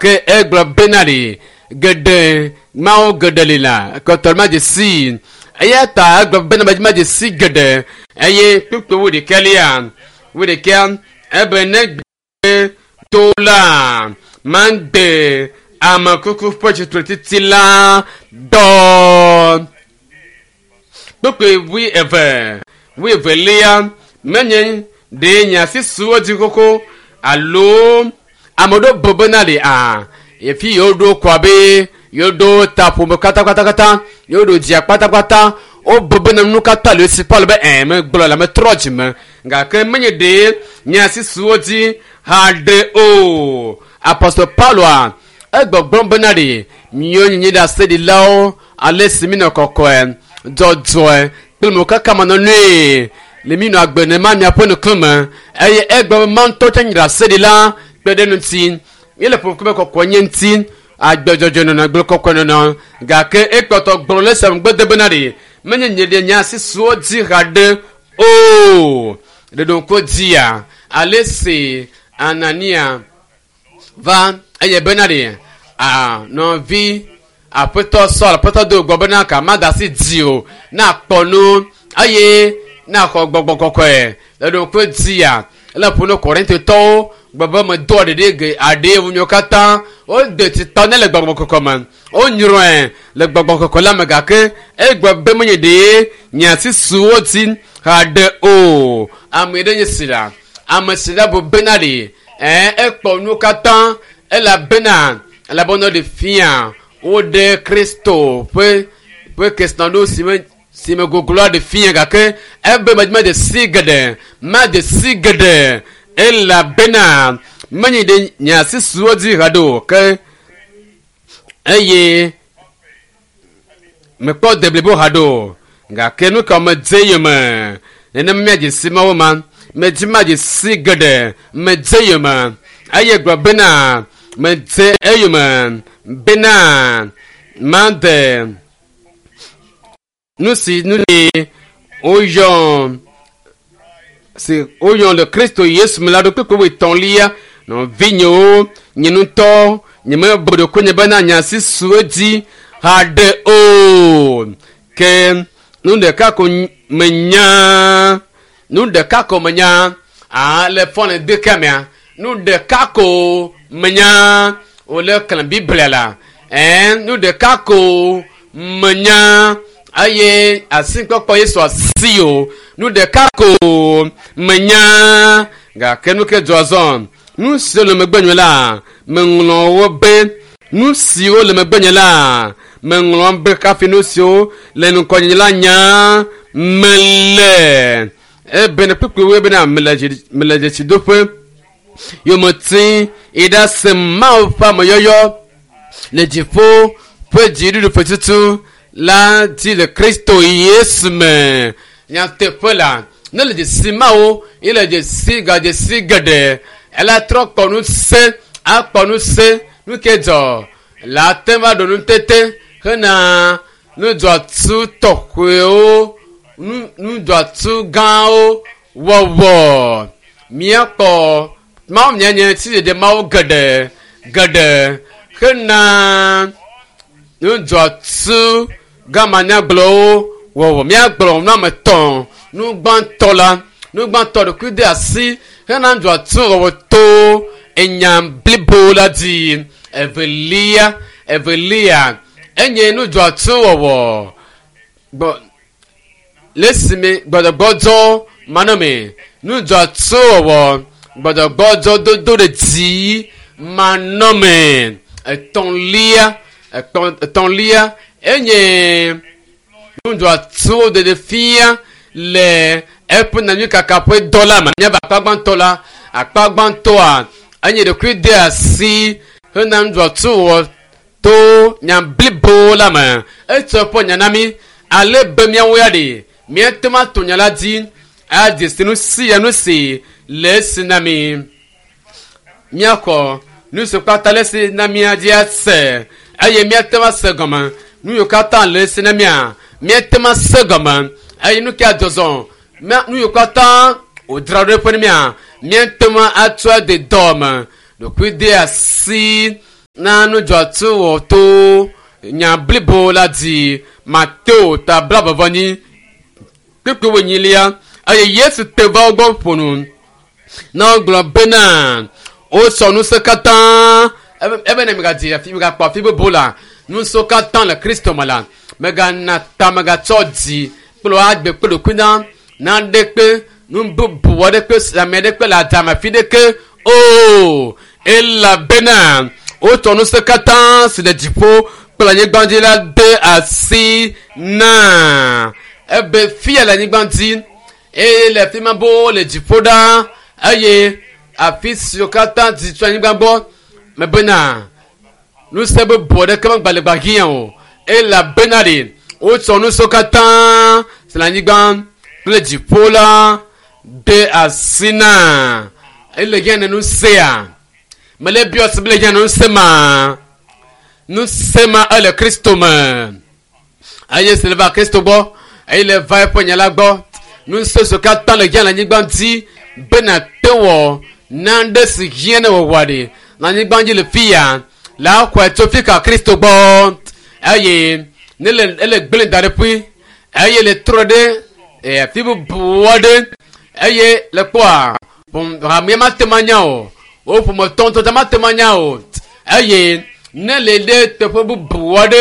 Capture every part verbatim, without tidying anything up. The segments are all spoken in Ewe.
Ke egblɔ bena ɖi geɖe mawo geɖe li la kɔtɔ ma dze si eya ta egblɔ bena ma dze si geɖe eye kpukpu wo ɖeka lia wo ɖeka ebe ne gbe to la magbe ame kuku ƒe tsitretiti la dɔ. Kpukpui wui eve wui evelia menye ɖe nya si su wo dzi xoxo alo ame ɖewo bo bena ɖe a efi yewo ɖo kɔ be yewo ɖo ta ƒome katakatakata yewo ɖo dzia kpatakpata wo bo bena nu katã le esi Paul be ɛ megblɔ la metrɔ dzime gake menye ɖe nya si su wo dzi haɖe o. Apostol Pauloa egbɔgblɔm bena ɖe miwo nyinyi ɖaseɖilawo ale si mi nɔ kɔkɔe dzɔdzɔe kple mo kaka manɔnui le mi nɔ agbe nema miaƒe nukume eye egbe be ma ŋutɔ tse nyi ɖaseɖila kpe ɖe ŋuti míele ƒoƒu be kɔkɔe nye ŋuti agbe dzɔdzɔe nɔnɔ gblẽ kɔkɔe nɔnɔ gake ekpɔtɔ gblɔ le sia ŋugbe de bena ɖe menye nye ɖe nya si su wo dzi haɖe o ɖeɖoŋku dzia ale si Anania va eye bena ɖe a nɔvi aƒetɔ Saul aƒetɔ do gbɔ bena ka ma da asi dzi o na kpɔ nu eye na xɔ gbɔgbɔ kɔkɔe ɖeɖoŋku dzia ele ƒo ne Korintotɔwo gbɔ be medoa ɖeɖe ge aɖe ŋunyewo katã wode titɔ ne le gbɔgbɔ kɔkɔe me wonyrɔe le gbɔgbɔ kɔkɔe la me gake egblɔ be menye ɖe nya si su wo dzi haɖe o. Ame ɖe nye si la ame si la bo bena ɖe ɛ ekpɔ nu katã elabena elabena ɖe fia woɖe Kristo ƒe ƒe kesinɔnu si me si me gogloa ɖe fia gake ebe me de si geɖe ma de si geɖe elabena menye ɖe nya si su wo dzi haɖe o ke eye mekpɔ deblibo haɖe o gake nu ka medze yome nenem míadze si mawo ma medzi madze si geɖe medze yome eye gblɔ bena medze eyome bena made nu si nu li woyɔ si woyɔ le Kristo Yesu me la ɖo kpekpe etɔ̃lia nɔvinyewo nye ŋutɔ nye mebu ɖokuinye bena nya si su edzi haɖe o ke nu ɖeka ko menya nu ɖeka ko menya a le fɔne de kemea nu ɖeka ko menya wòle xlẽ Biblia la ɛɛ nu ɖeka ko menya eye asikpɔkpɔ Yesu asi o nu ɖeka ko menya gake nu ke dzɔ zɔ nu siwo le megbenye la meŋlɔ wo be nu siwo le megbenye la meŋlɔ be kafi nu siwo le ŋgɔnye la nya mele ebene kpukpuiwoe bena mele mele dzesidoƒe yometi yi ɖase Mawu ƒe ameyɔyɔ le dziƒo ƒe dziɖuɖu ƒe tutu la dzi le Kristo Yesu me. Nyateƒe la ne le dzesi mawo ye le dzesi gadzesi geɖe ela trɔ kpɔ nu se akpɔ nu se nu ke dzɔ la te va ɖo nutete hena nudzɔatu tɔxɔewo nu nudzɔatu gãwo wɔwɔ míakpɔ mawo mianye sidzedze mawo geɖe geɖe hena nudzɔatu gamanyagblɔwo wɔwɔ míagblɔ nu ame etɔ̃ nu gbãtɔ la nu gbãtɔ ɖokui de asi hena nudzɔatu wɔwɔ to enya blibo la dzi evelia evelia enye nudzɔatu wɔwɔ gbɔ le esime gbɔdɔgbɔdzɔ manɔme nudzɔatu wɔwɔ gbɔdɔgbɔdzɔ dodo ɖe dzi manɔme etɔ̃lia etɔ̃lia enye nudzɔatuwo ɖeɖe fia le eƒe nanyuikaka ƒe dɔ la me míava akpa gbãtɔ la akpa gbãtɔa enye ɖokui de asi hena nudzɔatu wɔ to nya blibo la me etsɔ eƒe nya na mí ale be míawo ya ɖe míate ŋu ato nya la dzi adze si nu sia nu si le esi na mí míaxɔ nu si kpata le esi na mía dzi ase eye míate ŋu ase gɔme nu yiwo katã le esi na mía míate ŋu ase gɔme eye nu ke adzɔzɔ nu yiwo katã wòdzra ɖo eƒe mía míate ŋu atsɔ ade dɔ me ɖokui de asi Na nudzɔtsu wɔ to nya blibo la dzi Mateo ta blaeve-vɔ-enyi kpukpui wuenyilia eye Yesu te va wo gbɔ ƒo nu na wogblɔ bena wotsɔ ŋusẽ katã ebe ne megadzi afi megakpɔ afi bubu la ŋusẽ katã le Kristo me la megana ta megatsɔ dzi kple agbe kple ɖokui na naɖekpe nu bubu aɖekpe ame aɖekpe le adzame afi ɖeke o elabena wotsɔ ŋusẽ katã si le dziƒo kple anyigba dzi la de asi na ebe fia le anyigba dzi eye le afi ma bo le dziƒo ɖa eye afi siwo katã dzi tso anyigba gbɔ mebena ŋusẽ bubu aɖeke megba le gbahiã o elabena ɖe wotsɔ ŋusẽ katã si le anyigba kple dziƒo la de asi na ele hiã ne ŋusẽa mele biɔ si be le hiã ne ŋusẽ ma ŋusẽ ma ele Kristo me eye si le va Kristo gbɔ eye le va eƒe nya la gbɔ ŋusẽ siwo katã le hiã le anyigba dzi bena te wɔ nane si hiã ne wɔwɔ ɖe le anyigba dzi le fi ya la xɔe tso fi ka Kristo gbɔ eye ne le ele gblẽ da ɖe ƒui eye le trɔ ɖe afi bubu aɖe eye le kpɔa hamea mate ŋu anya o wo ƒometɔ ŋutɔ mate ŋu anya o eye ne le ɖe teƒe bubu aɖe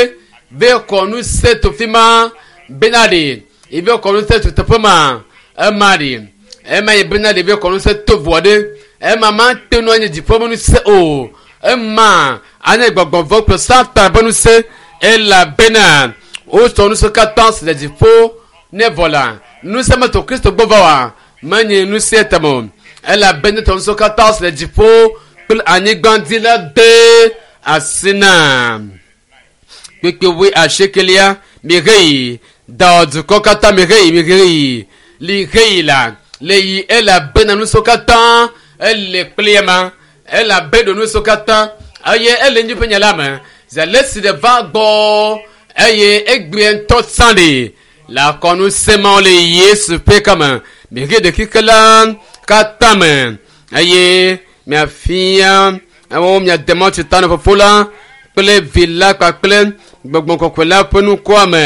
be kɔ ŋusẽ to fi ma bena ɖe ebe kɔ ŋusẽ to teƒe ma ema ɖe ema yi bena ɖe be kɔ ŋusẽ to ʋu aɖe ema mate ŋu anye dziƒo ƒe ŋusẽ o ema anye gbɔgbɔ vɔ̃ kple Satan ƒe ŋusẽ elabena wotsɔ ŋusẽ katã si le dziƒo ne vɔ la ŋusẽ meto Kristo gbɔ va oa menye ŋusẽ tame o elabena tɔ ŋusẽ katã si le dziƒo kple anyigba dzi la de asi na kpekpe wui asiekelia miheyi da dukɔ katã miheyi miheyi liheyi la le yi elabena ŋusẽ katã ele kple ema elabe ɖo ŋusẽ katã eye ele nyi ƒe nya la me zi ale si ɖe va gbɔ eye egbe ŋutɔ tsã ɖe le akɔnusẽ mawo le Yesu ƒe kame mihe ɖekike la katã me eye miafia wo miade mɔ tsi ta na fofo la kple vi la kpakple gbɔgbɔ kɔkɔe la ƒe nukua me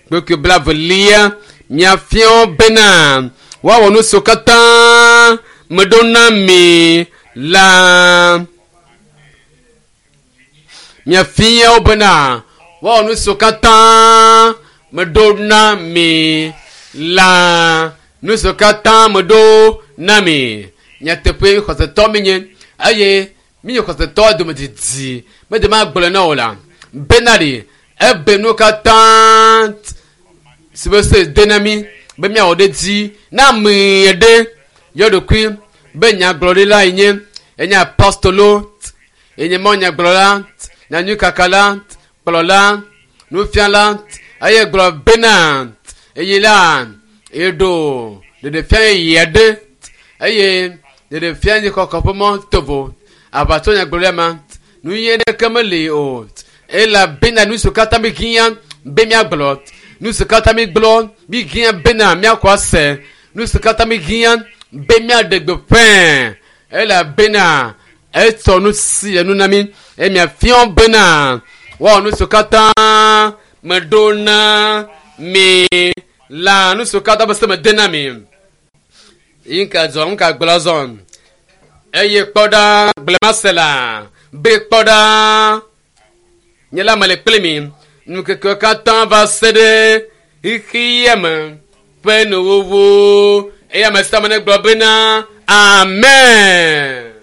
kpekpe blavelia miafia wo bena woawɔ nu siwo katã meɖo na mi la miafia wo bena woawɔ nu siwo katã meɖo na mi la nu siwo katã meɖo na mi nyateƒe xɔsetɔ mi nye eye mi nye xɔsetɔ dome didi mede ma gblɔ na wo la bena ɖe ebe nu katã si be se de na mi be miawɔ ɖe dzi na ame ɖe yɔ ɖokui be nyagblɔɖila yi nye enye apostolo enye mɔ nyagblɔla nyanyuikakala kplɔla nufiala eye gblɔ bena eye la eɖo ɖeɖefia yeye aɖe eye ɖeɖefia nye kɔkɔ ƒe mɔ tovo aʋatso nyagblɔɖia ma nu yi ɖeke meli o elabena nu siwo katã mi hiã be miagblɔ nu siwo katã mi gblɔ mi hiã bena miakɔ ase nu siwo katã mi hiã be miaɖe gbeƒã elabena etsɔ nu si enu na mi eye miafia bena woawɔ nu siwo katã meɖo na mi la nu siwo katã be se mede na mi yi ŋka zɔ ŋka gblɔ zɔ eye kpɔ ɖa gblẽmase la be kpɔ ɖa nye la mele kpli mi nukeke katã va se ɖe xexea me ƒe nuwuwu eye ame sia ame ne gblɔ bena amen.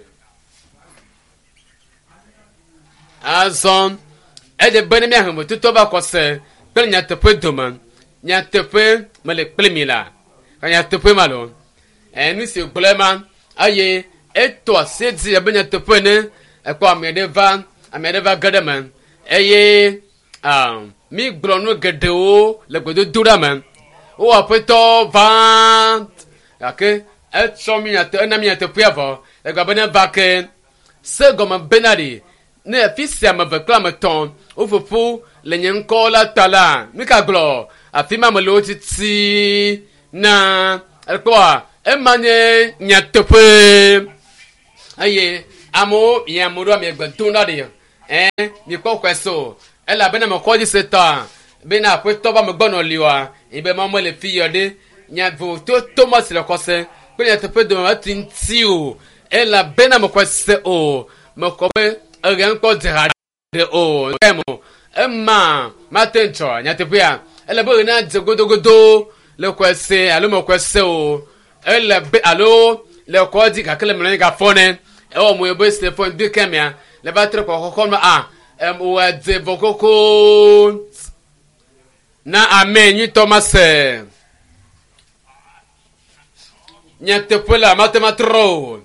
Azɔ edze be ne miahe mototɔ va kɔse kple nyateƒe dome nyateƒe mele kpli mi la ka nyateƒe ma lo enu si gblɔ ma eye eto asi dzi abe nyateƒe ene ekpɔ ame aɖe va ame aɖe va ge ɖe me eye ah, mi gblɔ nu geɖewo le gbedodoɖa me wo aƒetɔ va gake etsɔ mi nyate ena mi nyateƒea vɔ egblɔ be ne va ke se gɔme bena ɖi ne afi sia ame eve kple ame etɔ̃ woƒoƒu le nye ŋkɔ la ta la mi ka gblɔ afi ma me le wo titi na ekpɔa ema nye nyateƒe eye amewo yi amewo ɖo ame gbe dom ɖa ɖi Ɛ mikpɔ xɔe so elabena mexɔ dzi se tɔa bena aƒetɔ ba megbɔ nɔ li oa ebe ma mele fi yɔ ɖe nya vovototo ma si le xɔse kple nyateƒe dome meti ŋuti o elabena mexɔe se o mexɔ be eɣe ŋkpɔ dze ha ɖe o emo ema mate ŋdzɔ nyateƒea ele be ɣe dze godogodo le xɔe se alo mexɔe se o ele be alo le xɔ dzi gake le mlɔ anyi gafɔ ne ewɔ mo be se fɔ ŋdi kemia le va trɔ kɔkɔkɔ me a em wɔ dze vɔ koko na ame nyuitɔ ma se nyateƒe la mate ma trɔ o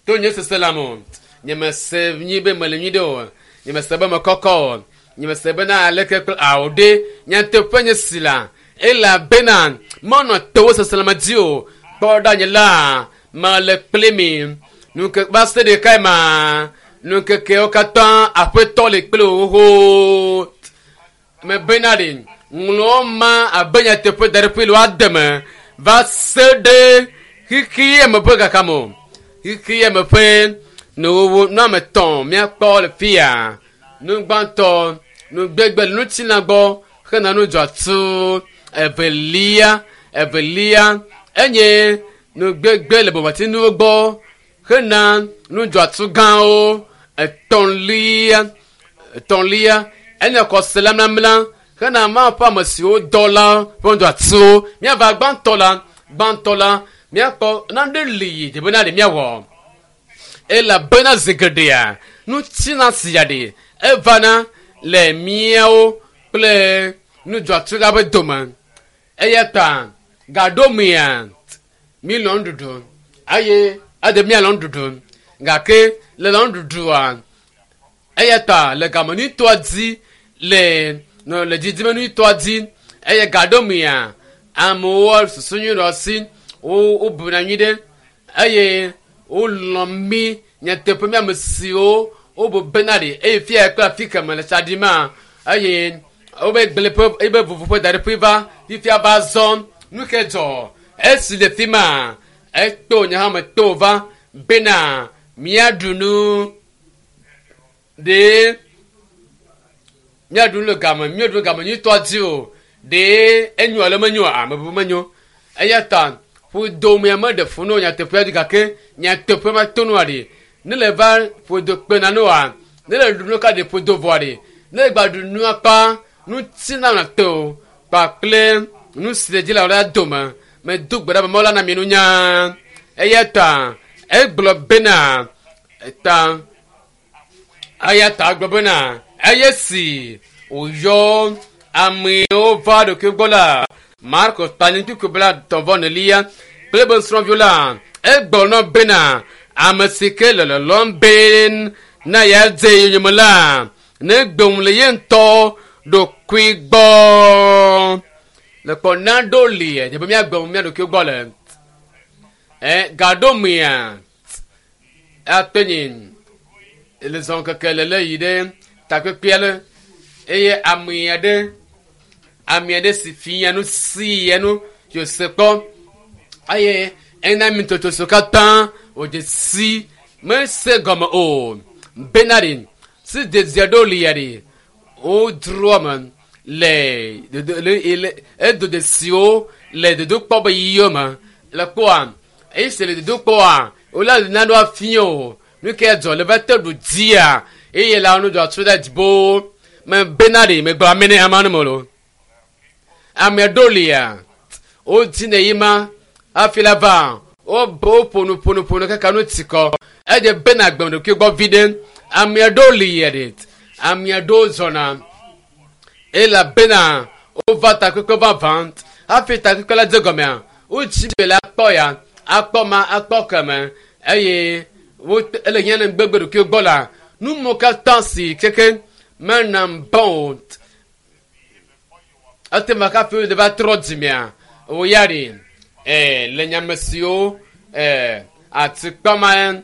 to nye sese la mo nye me se nyi be mele nyui ɖe o nye me se be me kɔkɔ o nye me se bena aleke kple awo ɖe nyateƒe nye si la elabena menɔ tewo seselẽme dzi o kpɔ ɖa nye la mele kpli mi nuke va se ɖekae ma nukekewo katã aƒetɔ le kpli wo xoxo mebena ɖe ŋlɔ ma abe nyateƒe da ɖe ƒe le woade me va se ɖe xixi me ƒe kaka me o xixi me ƒe nuwuwu nu ame etɔ̃ míakpɔ le fia nu gbãtɔ nugbegbe le ŋutilã gbɔ hena nu dzɔatsu evelia evelia enye nugbegbe le bɔbɔtinuwo gbɔ hena nu dzɔatsu gãwo etɔ̃lia etɔ̃lia enye xɔse la mlamla hena Mawu ƒe ame siwo dɔ la ƒe nudzɔatsuwo míava gbãtɔ la gbãtɔ la míakpɔ nane li dzi bena ɖe míawɔ elabena zi geɖea nutsina sia ɖe evana le míawo kple nudzɔatsu la ƒe dome eya ta gaɖo mea mílɔ nuɖuɖu eye ede míalɔ nuɖuɖu gake le lɔ nuɖuɖua eya ta le game nyuitɔa dzi le nɔ le didime nyuitɔa dzi eye gaɖo mea amewo susu nyui ɖe asi wo wobuna nyui ɖe eye wolɔ̃ mí nyateƒe mí ame siwo wobu bena ɖe eye fia kple afi keme le tsa ɖim eye wobe gblẽ ƒe ebe vovo ƒe da ɖe ƒe va fifia va zɔ nu ke dzɔ esi le fi ma eto nye hã me to va bena míaɖu nu ɖe míaɖu nu le game míaɖu nu game nyuitɔa dzi o ɖe enyo alo menyo ame bubu menyo eya ta ƒodomea meɖe fu no nyateƒea dzi gake nyateƒe ma to nua ɖe ne le va ƒodo kpena noa ne le ɖu nu ka ɖe ƒodo vɔa ɖe ne le gba ɖu nua kpa ŋuti na na te o kpakple nu si le dzi le la dome medo gbe ɖa be Mawu la na mi nunya eya ta egblɔ bena ta eya ta egblɔ bena eye si wòyɔ amewo va ɖokui gbɔ la Marko tanyikuku bla tɔvɔ nelia kple be nusrɔ̃viwo la egblɔ na bena ame si ke le lɔlɔ̃m be na yeadze yonyeme la ne gbem le ye ŋutɔ ɖokui gbɔ le kpɔ naɖo li dze be míagbe mía ɖokui gbɔ le ɛ gaɖo mea ate nyi le zɔn keke le le yi ɖe takpekpea le eye ame aɖe ame aɖe si fia nu si ya nu yose kpɔ eye ena mi totoso katã wòdze si mese gɔme o bena ɖe si dzedzia ɖo lia ɖe wodroa me le dodo le le edo dzesiwo le dodokpɔ be yiwo me le kpɔa eye si le dodokpɔa wole nane afia o nu ke dzɔ le va te ɖu dzia eye la nu dzɔ tso ɖe dzibo me bena ɖe megblɔ ame ne ame me lo ame ɖo lia wodzi ne yi ma hafi la va wobo woƒo nu ƒo nu ƒo nu kaka nu ti kɔ edze bena gbem ɖokui gbɔ vi ɖe ame ɖewo li yɛ ɖe ame ɖewo zɔna elabena wova takpekpe vavã hafi takpekpe la dze gɔmea wotsi be la akpɔ ya akpɔ ma akpɔ keme eye wo ele hiã ne gbegbe ɖokui gbɔ la nu katã si keke menam bɔn o ete ma kafi wo va trɔ dzimea wo ya ɖi ɛɛ le nyame siwo ɛɛ atikpama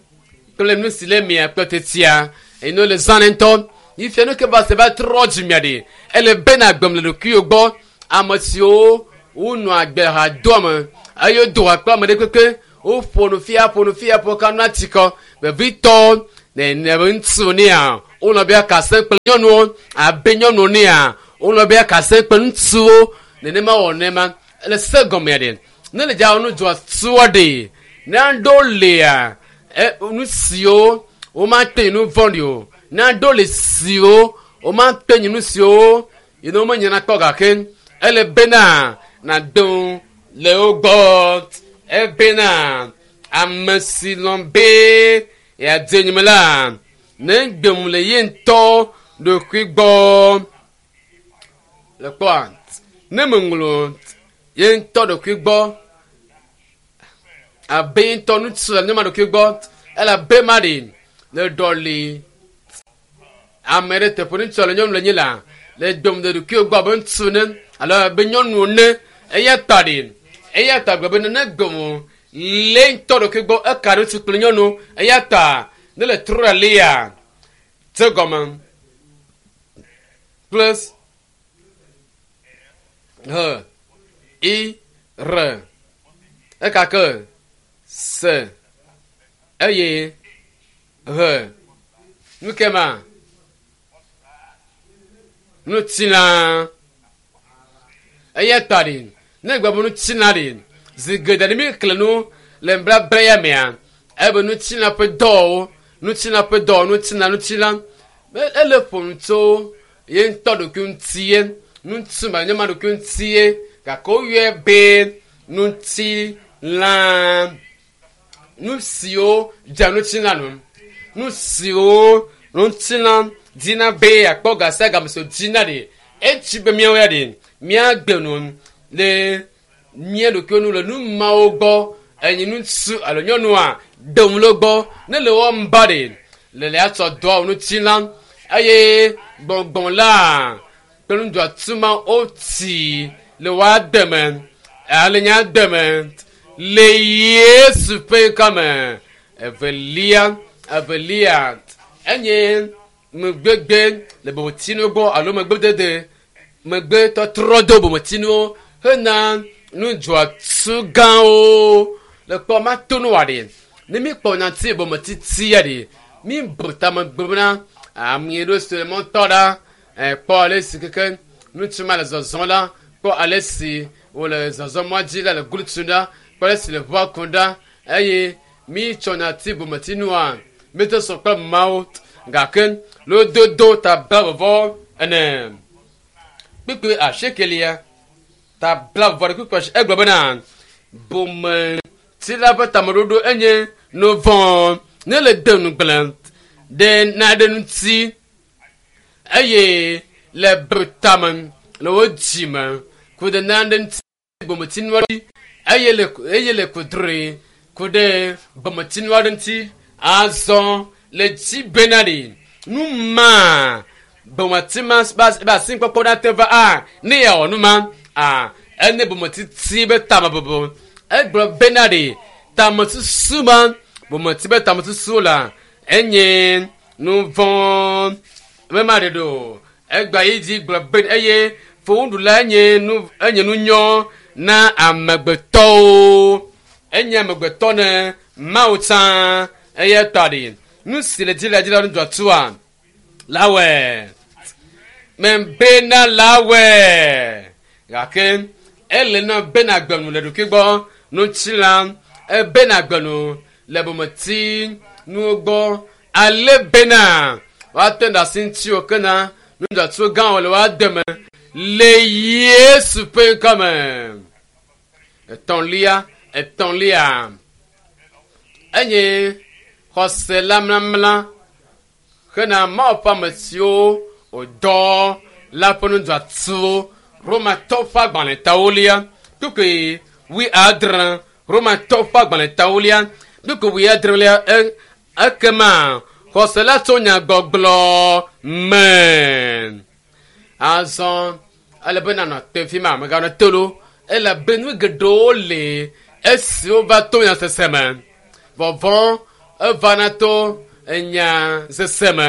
kple nu si le mia kple tetia eye ne le zã ne ŋutɔ ifia nu ke va se va trɔ dzimea ɖi ele bena gbem le ɖokuiwo gbɔ ame siwo wonɔ agbe ha doa me eye wodo ha kple ame ɖe kpekpe woƒo nu fia ƒo nu fia ƒo ka nu atikɔ vevitɔ nene ŋutsu nea Wonɔ be akase kple nyɔnuwo abe nyɔnuwo nea wonɔ be akase kple ŋutsuwo nenema wɔ nema le se gɔmea ɖe ne le dza nu dzɔ tuɔ ɖe ne aɖewo lia e nu siwo womate nu vɔ̃ɖi o ne aɖewo le siwo womate nu siwo yi ne womenyana kpɔ gake ele bena nàdo le wo gbɔ ebena ame si lɔ̃ be yeadze nyime la ne gbem le ye ŋutɔ ɖokui gbɔ le kpɔa ne meŋlɔ ye ŋutɔ ɖokui gbɔ abe ye ŋutɔ ŋutsu le nyɔma ɖokui gbɔ elabe ma ɖi le ɖɔli ame ɖe teƒe ŋutsu le nyɔnu le nyi la le gbem le ɖokui gbɔ abe ŋutsu ne alo abe nyɔnu ne eya ta ɖi eya ta gblɔ be ne gbem le ŋutɔ ɖokui gbɔ eka ɖe ŋutsu kple nyɔnu eya ta ne le trɔ ɖe lia tse gɔme plus h i r eka ke s eye h nu ke ma nutsila eya ta ɖi ne gbe be nutsila ɖi zi geɖe ne mi xlẽ nu le nubabla ya mea ebe nutsila ƒe dɔwɔwo nutsila ƒe dɔwɔ nutsila nutsila ele ƒo nu tso ye ŋutɔ ɖokui ŋutie ŋutsu ma nye ma ɖokui ŋutie gake woyɔe be nutsila nu siwo dze nutsila nu nu siwo nutsila dina be akpɔ ga sia game si wòdzina ɖi etsi be míawo ya ɖi míagbe nu le mía ɖokuiwo nu le nu mawo gbɔ enyi ŋutsu alo nyɔnua ɖem le gbɔ ne le wɔm ba ɖi le le atsɔ dɔa nutsila eye gbɔngbɔn la kple nudzɔatuma wotsi le woa deme ale nya deme le Yesu ƒe ŋkɔme evelia evelia enye megbegbe le bometsinuwo gbɔ alo megbedede megbetɔtrɔ do bometsinuwo hena nudzɔatsu gãwo le kpɔ mato nu wa ɖi ne mi kpɔ nyati bometsitsia ɖi mi bu tame gblɔ na ame ɖewo si le mɔtɔ ɖa kpɔ ale si keke ŋutsu ma le zɔzɔm la kpɔ ale si wòle zɔzɔm mɔ dzi la le glutu ɖa kpɔ ale si le ʋua kum ɖa eye mi tsɔ nyati bometsinua mi te sɔ kple mawo gake lododo ta bla vɔvɔ ene kpikpi asiekelia ta bla vɔvɔ ɖe kpikpi asie egblɔ bena bometsila ƒe tameɖoɖo enye nu vɔ̃ ne le de nugblẽ ɖe naɖe ŋuti eye le bretame le wo dzime ku ɖe nane ŋuti bometsinua ɖe eye le eye le kudroe ku ɖe bometsinua ɖe ŋuti azɔ le dzi bena ɖi nu ma bometi ma ba asi kpɔkpɔ ɖe ate va a ne yeawɔ nu ma a ene bometiti be tamebobo egblɔ bena ɖi tamesusu ma bometi be tamesusu la enye nu vɔ̃ mema ɖe ɖo egba yi dzi gblɔ be eye fowuɖula enye nu enye nu nyɔ na amegbetɔwo enye amegbetɔ ne mawu tsã eye tɔ ɖi nu si le dzi le dzi la nu dzɔtua lawɔe membena lawɔe gake ele na bena gbenu le ɖokui gbɔ nutsila ebena gbenu le bometi nuwo gbɔ ale bena woate ɖe asi ŋuti wo kena nudzɔtso gãwo le woa deme le Yesu ƒe ŋkɔme. Etɔ̃lia etɔ̃lia enye xɔse la mlamla hena Mawu ƒe ame siwo wòdɔ la ƒe nudzɔatsowo Romatɔwo ƒe agbalẽtawolia kpukpui wuiadre Romatɔwo ƒe agbalẽtawolia kpukpui wuiadrelia e ekema xɔse la tso nyagbɔgblɔ me. Azɔ ele be nanɔ te fi ma meganɔ te ɖo elabe nu geɖewo le esiwo va to nyasese me. Vɔvɔ̃ evana to enyasese me.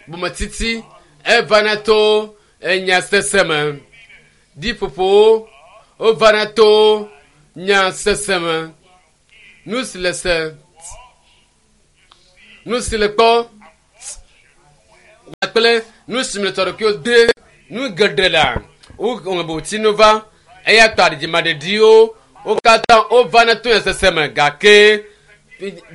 Bometiti evana to enyasese me. Ɖiƒoƒowo wovana to nyasese me. Nu si le se nu si le kpɔ kple nu si me le tɔɖokuiwo de nu geɖe la wo va eya ta dzimaɖeɖiwo wo katã wova na to nyasese me gake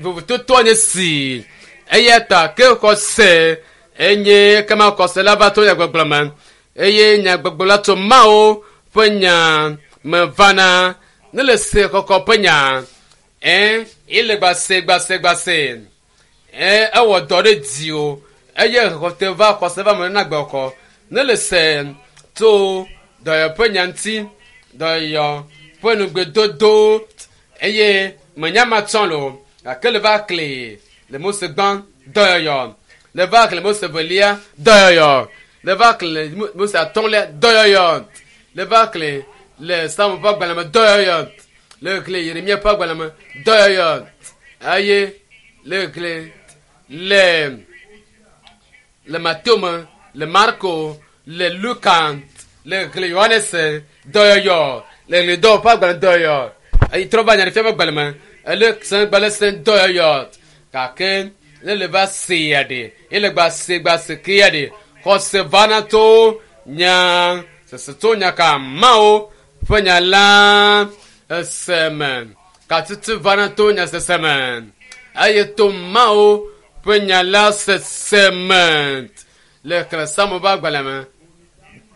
vovototoa nye si eya ta ke xɔse enye kema xɔse la va to nyagbɔgblɔ me eye nyagbɔgblɔ la tso Mawu ƒe nya me vana ne le se xɔxɔ ƒe nya ɛ ele gbase gbase gbase ɛ ewɔ dɔ ɖe dzi o eye xɔte va xɔse va me na gbɔxɔ ne le se tso dɔyɔ ƒe nya ŋuti dɔyɔ ƒe nugbedodo eye menya ma tsɔ lo gake le va kli le Mose gbã dɔyɔyɔ le va kli Mose velia dɔyɔyɔ le va kli le Mose atɔ̃lia dɔyɔyɔ le va kli le Samu ƒe agbalẽ me dɔyɔyɔ le kli Yeremia ƒe agbalẽ me dɔyɔyɔ eye le kli le le Mateo me le Marko le Luka le kli Yohanes dɔyɔyɔ le kli dɔwɔ ƒe agbalẽ dɔyɔyɔ eye trɔ va Nyaɖeɖefia ƒe agbalẽ me ele sẽ gbalẽ sẽ dɔyɔyɔ gake ne le va se ya ɖe ele gba se gba se ke ya ɖe xɔse vana to nya sese to nya ka Mawu ƒe nya la ese me katutu vana to nya sese me eye to Mawu ƒe nya la sese me le xlẽ Samu ƒe agbalẽ me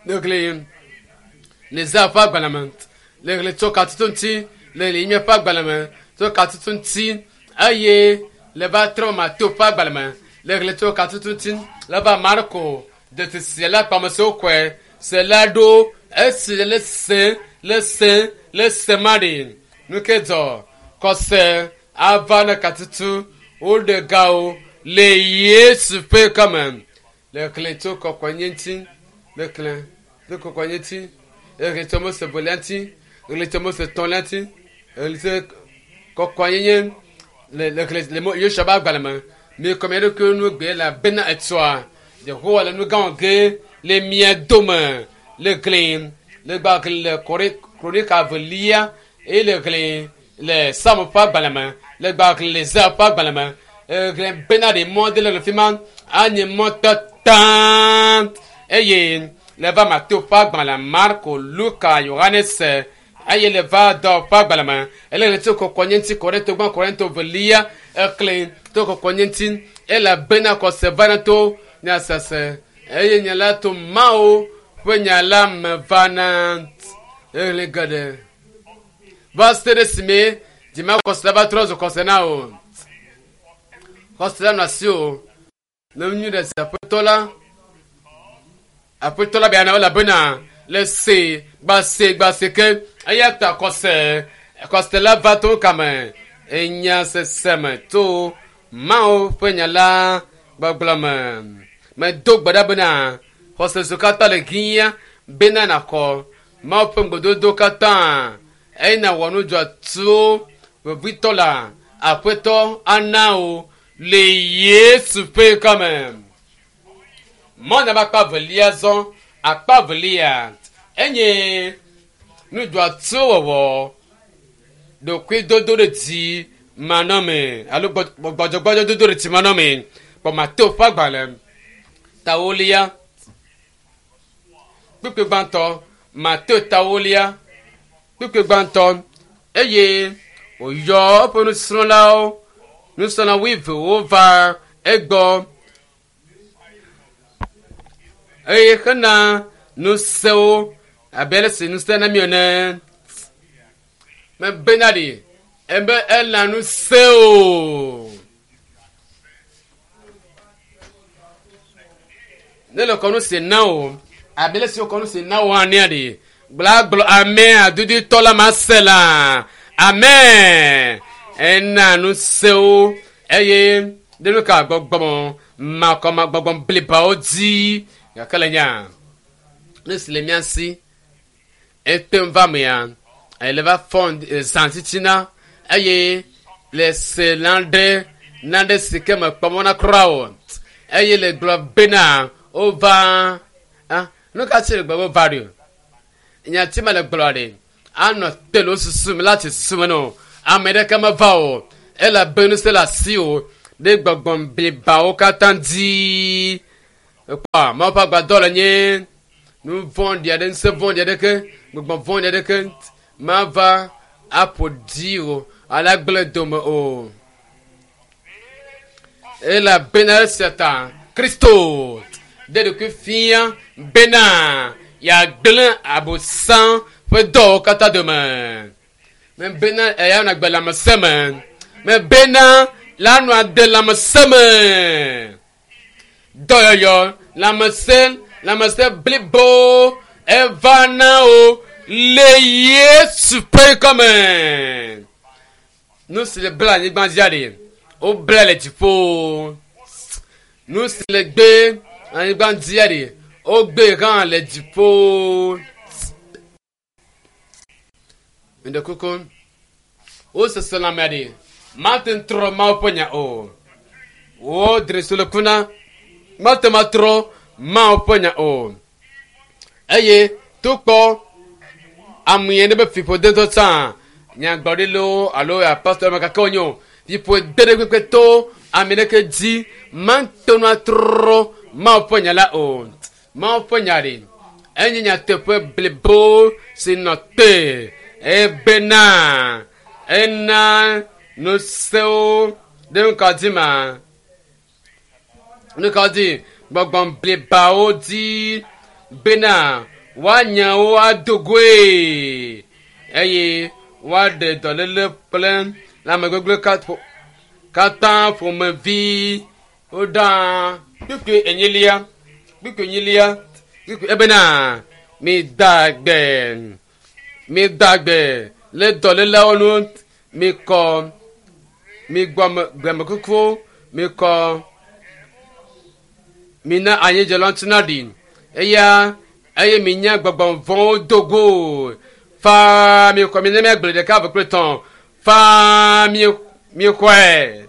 le xlẽ Neza ƒe agbalẽ me le xlẽ tso katutu ŋuti le Yeremia ƒe agbalẽ me tso katutu ŋuti eye le va trɔ Mateo ƒe agbalẽ me le xlẽ tso katutu ŋuti le va Marko detsi la kpamesiwo kɔe se la ɖo esi le se le se le se ma ɖi nu ke dzɔ kɔse ava ne katutu woɖe gawo le Yesu ƒe kame le xlẽ tso kɔkɔenye ŋuti le xlẽ tso kɔkɔenye ŋuti le xlẽ tso Mose velia ŋuti le xlẽ tso Mose etɔ̃lia ŋuti le xlẽ tso kɔkɔenyenye le le xlẽ le Yosua ƒe agbalẽ me mi kɔ mia ɖokuiwo nu gbe la bena etsɔa Yehowa le nu gã ge le mia dome le xlẽ le gba xlẽ le Kronika velia eye le xlẽ le Samu ƒe agbalẽ me le gba xlẽ le Zea ƒe agbalẽ me xlẽ bena ɖe mɔ de le le fi ma anye mɔ tata eye le va Mateo ƒe agbalẽ Marko Luka Yohanes eye le va dɔ ƒe agbalẽ me ele le tso kɔkɔnye ŋuti Korinto gbã Korinto velia exlẽ to kɔkɔnye ŋuti elabena xɔse vana to nyasese eye nya la to Mawu ƒe nya la me vana exlẽ geɖe va se ɖe esime dzimaxɔse la va trɔ zu xɔse na o xɔse la nɔ asi o ne nyui ɖe si aƒetɔ la aƒetɔ la bia na elabena le se gbase gbase ke eya ta xɔse xɔse la va to kame enya sese me to Mawu ƒe nya la gbɔgblɔ me medo gbe ɖa bena xɔse siwo katã le hiã bena nàxɔ Mawu ƒe ŋugbedodo katã eye nàwɔ nu dzɔatsuwo vevitɔ la aƒetɔ ana wo le Yesu ƒe kame. Mɔna ƒe akpa velia zɔ akpa velia enye nu dzɔatsuwo wɔwɔ ɖokuidodo ɖe dzi manɔme alo gbɔdzɔgbɔdzɔ dodo ɖe dzi manɔme kpɔ Mateo ƒe agbalẽ tawolia kpukpui gbãtɔ Mateo tawolia kpukpui gbãtɔ eye wòyɔ eƒe nusrɔ̃lawo nusrɔ̃la wuievewo va egbɔ eye hena nusewo abe ale si nuse na mi ene mebena ɖi ebe ena nuse o ne le kɔ nu si na o abe ale si wokɔ nu si na o hã nea ɖi gblagblɔ ame adudutɔ la ma se la amen ena nusewo eye ɖe nu ka gbɔgbɔ makɔma gbɔgbɔ blibawo dzi gake le nya ne si le mía si ete va mea ele va fɔ zã titina eye le se naɖe naɖe si ke me kpɔm na kura o eye le gblɔ bena wova ah nu ka tsi le gblɔ wova ɖo nyati me le gblɔ ɖe anɔ te le wo susu me la ti susu me no ame ɖeke meva o elabe nu se le asi o ɖe gbɔgbɔ blibawo katã dzi Ekpɔa Mawu ƒe agbadɔ le nye nu vɔ̃ɖi aɖe ŋusẽ vɔ̃ɖi aɖeke gbɔgbɔ vɔ̃ɖi aɖeke mava aƒo ɖi o ale agblẽ dome o. Elabena esia ta Kristo ɖe ɖokui fia bena yeagblẽ abosam ƒe dɔwo katã dome. Mebena eya nagbe lãmesẽ me. Mebena la nɔ ade lãmesẽ me. Dɔyɔyɔ lãmesẽ lãmesẽ blibo eva na wo le Yesu ƒe ŋkɔ me. Nu si le bla anyigba dzia ɖe wobla le dziƒo. Nu si le gbe anyigba dzia ɖe wogbe hã le dziƒo. Ŋɖe kuku wosese lãmea ɖe mate ŋu trɔ Mawu ƒe nya o. Wo dre si le kuna mate ŋu atrɔ Mawu ƒe nya o. Eye tukpɔ ame yi ne be fiƒode ŋutɔ tsã nyagblɔɖilawo alo apostol ame kake wonye o fiƒode ɖe kpekpe to ame ɖeke dzi mate ŋu atrɔ Mawu ƒe nya la o. Mawu ƒe nya ɖe enye nyateƒe blibo si nɔ te ebena ena nusewo ɖe nuka dzi ma nuka dzi gbɔgbɔ blibawo dzi bena woanya wo ado goe eye woaɖe dɔléle kple lãmegbegblẽ katã ƒomevi woɖa kpukpui enyilia kpukpui enyilia kpukpui ebena mi da gbe mi da gbe le dɔléleawo nu mi kɔ mi gbɔ gbemekukuwo mi kɔ mi na anyidzela ŋuti na ɖi eya eye mi nya gbɔgbɔ vɔ̃wo do go faa mi xɔ mi ne miagblẽ ɖeka eve kple tɔ̃ faa mi mi xɔe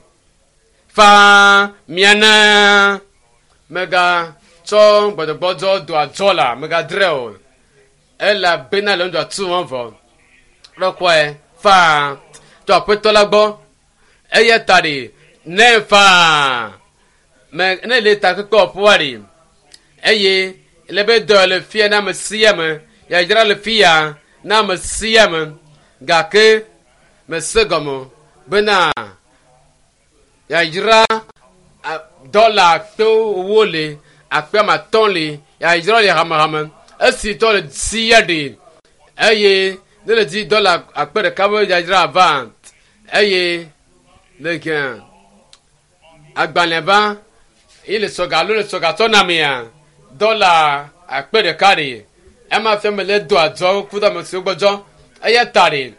faa miana mega tsɔ gbɔdɔgbɔdzɔ do adzɔ la megadrɛ o elabena le ŋdɔ atu wɔn vɔ ɖɔkɔe faa tso aƒetɔ la gbɔ eya ta ɖi ne faa me ne le takpekpe wɔƒoa ɖi eye le be dɔ le fia na ame sia ame yadzra le fia na ame sia ame gake mese gɔme bena yadzra dɔla akpewo le akpe ame atɔ̃ le yadzra le hamehame esi tɔ le sia ɖe eye ne le di dɔla akpe ɖeka be yadzra va eye le gã agbalẽ va yi le sɔga alo le sɔga tɔ na mea dɔla akpe ɖeka ɖe ema fia me le do adzɔ ku ɖe ame siwo gbɔdzɔ eya ta ɖe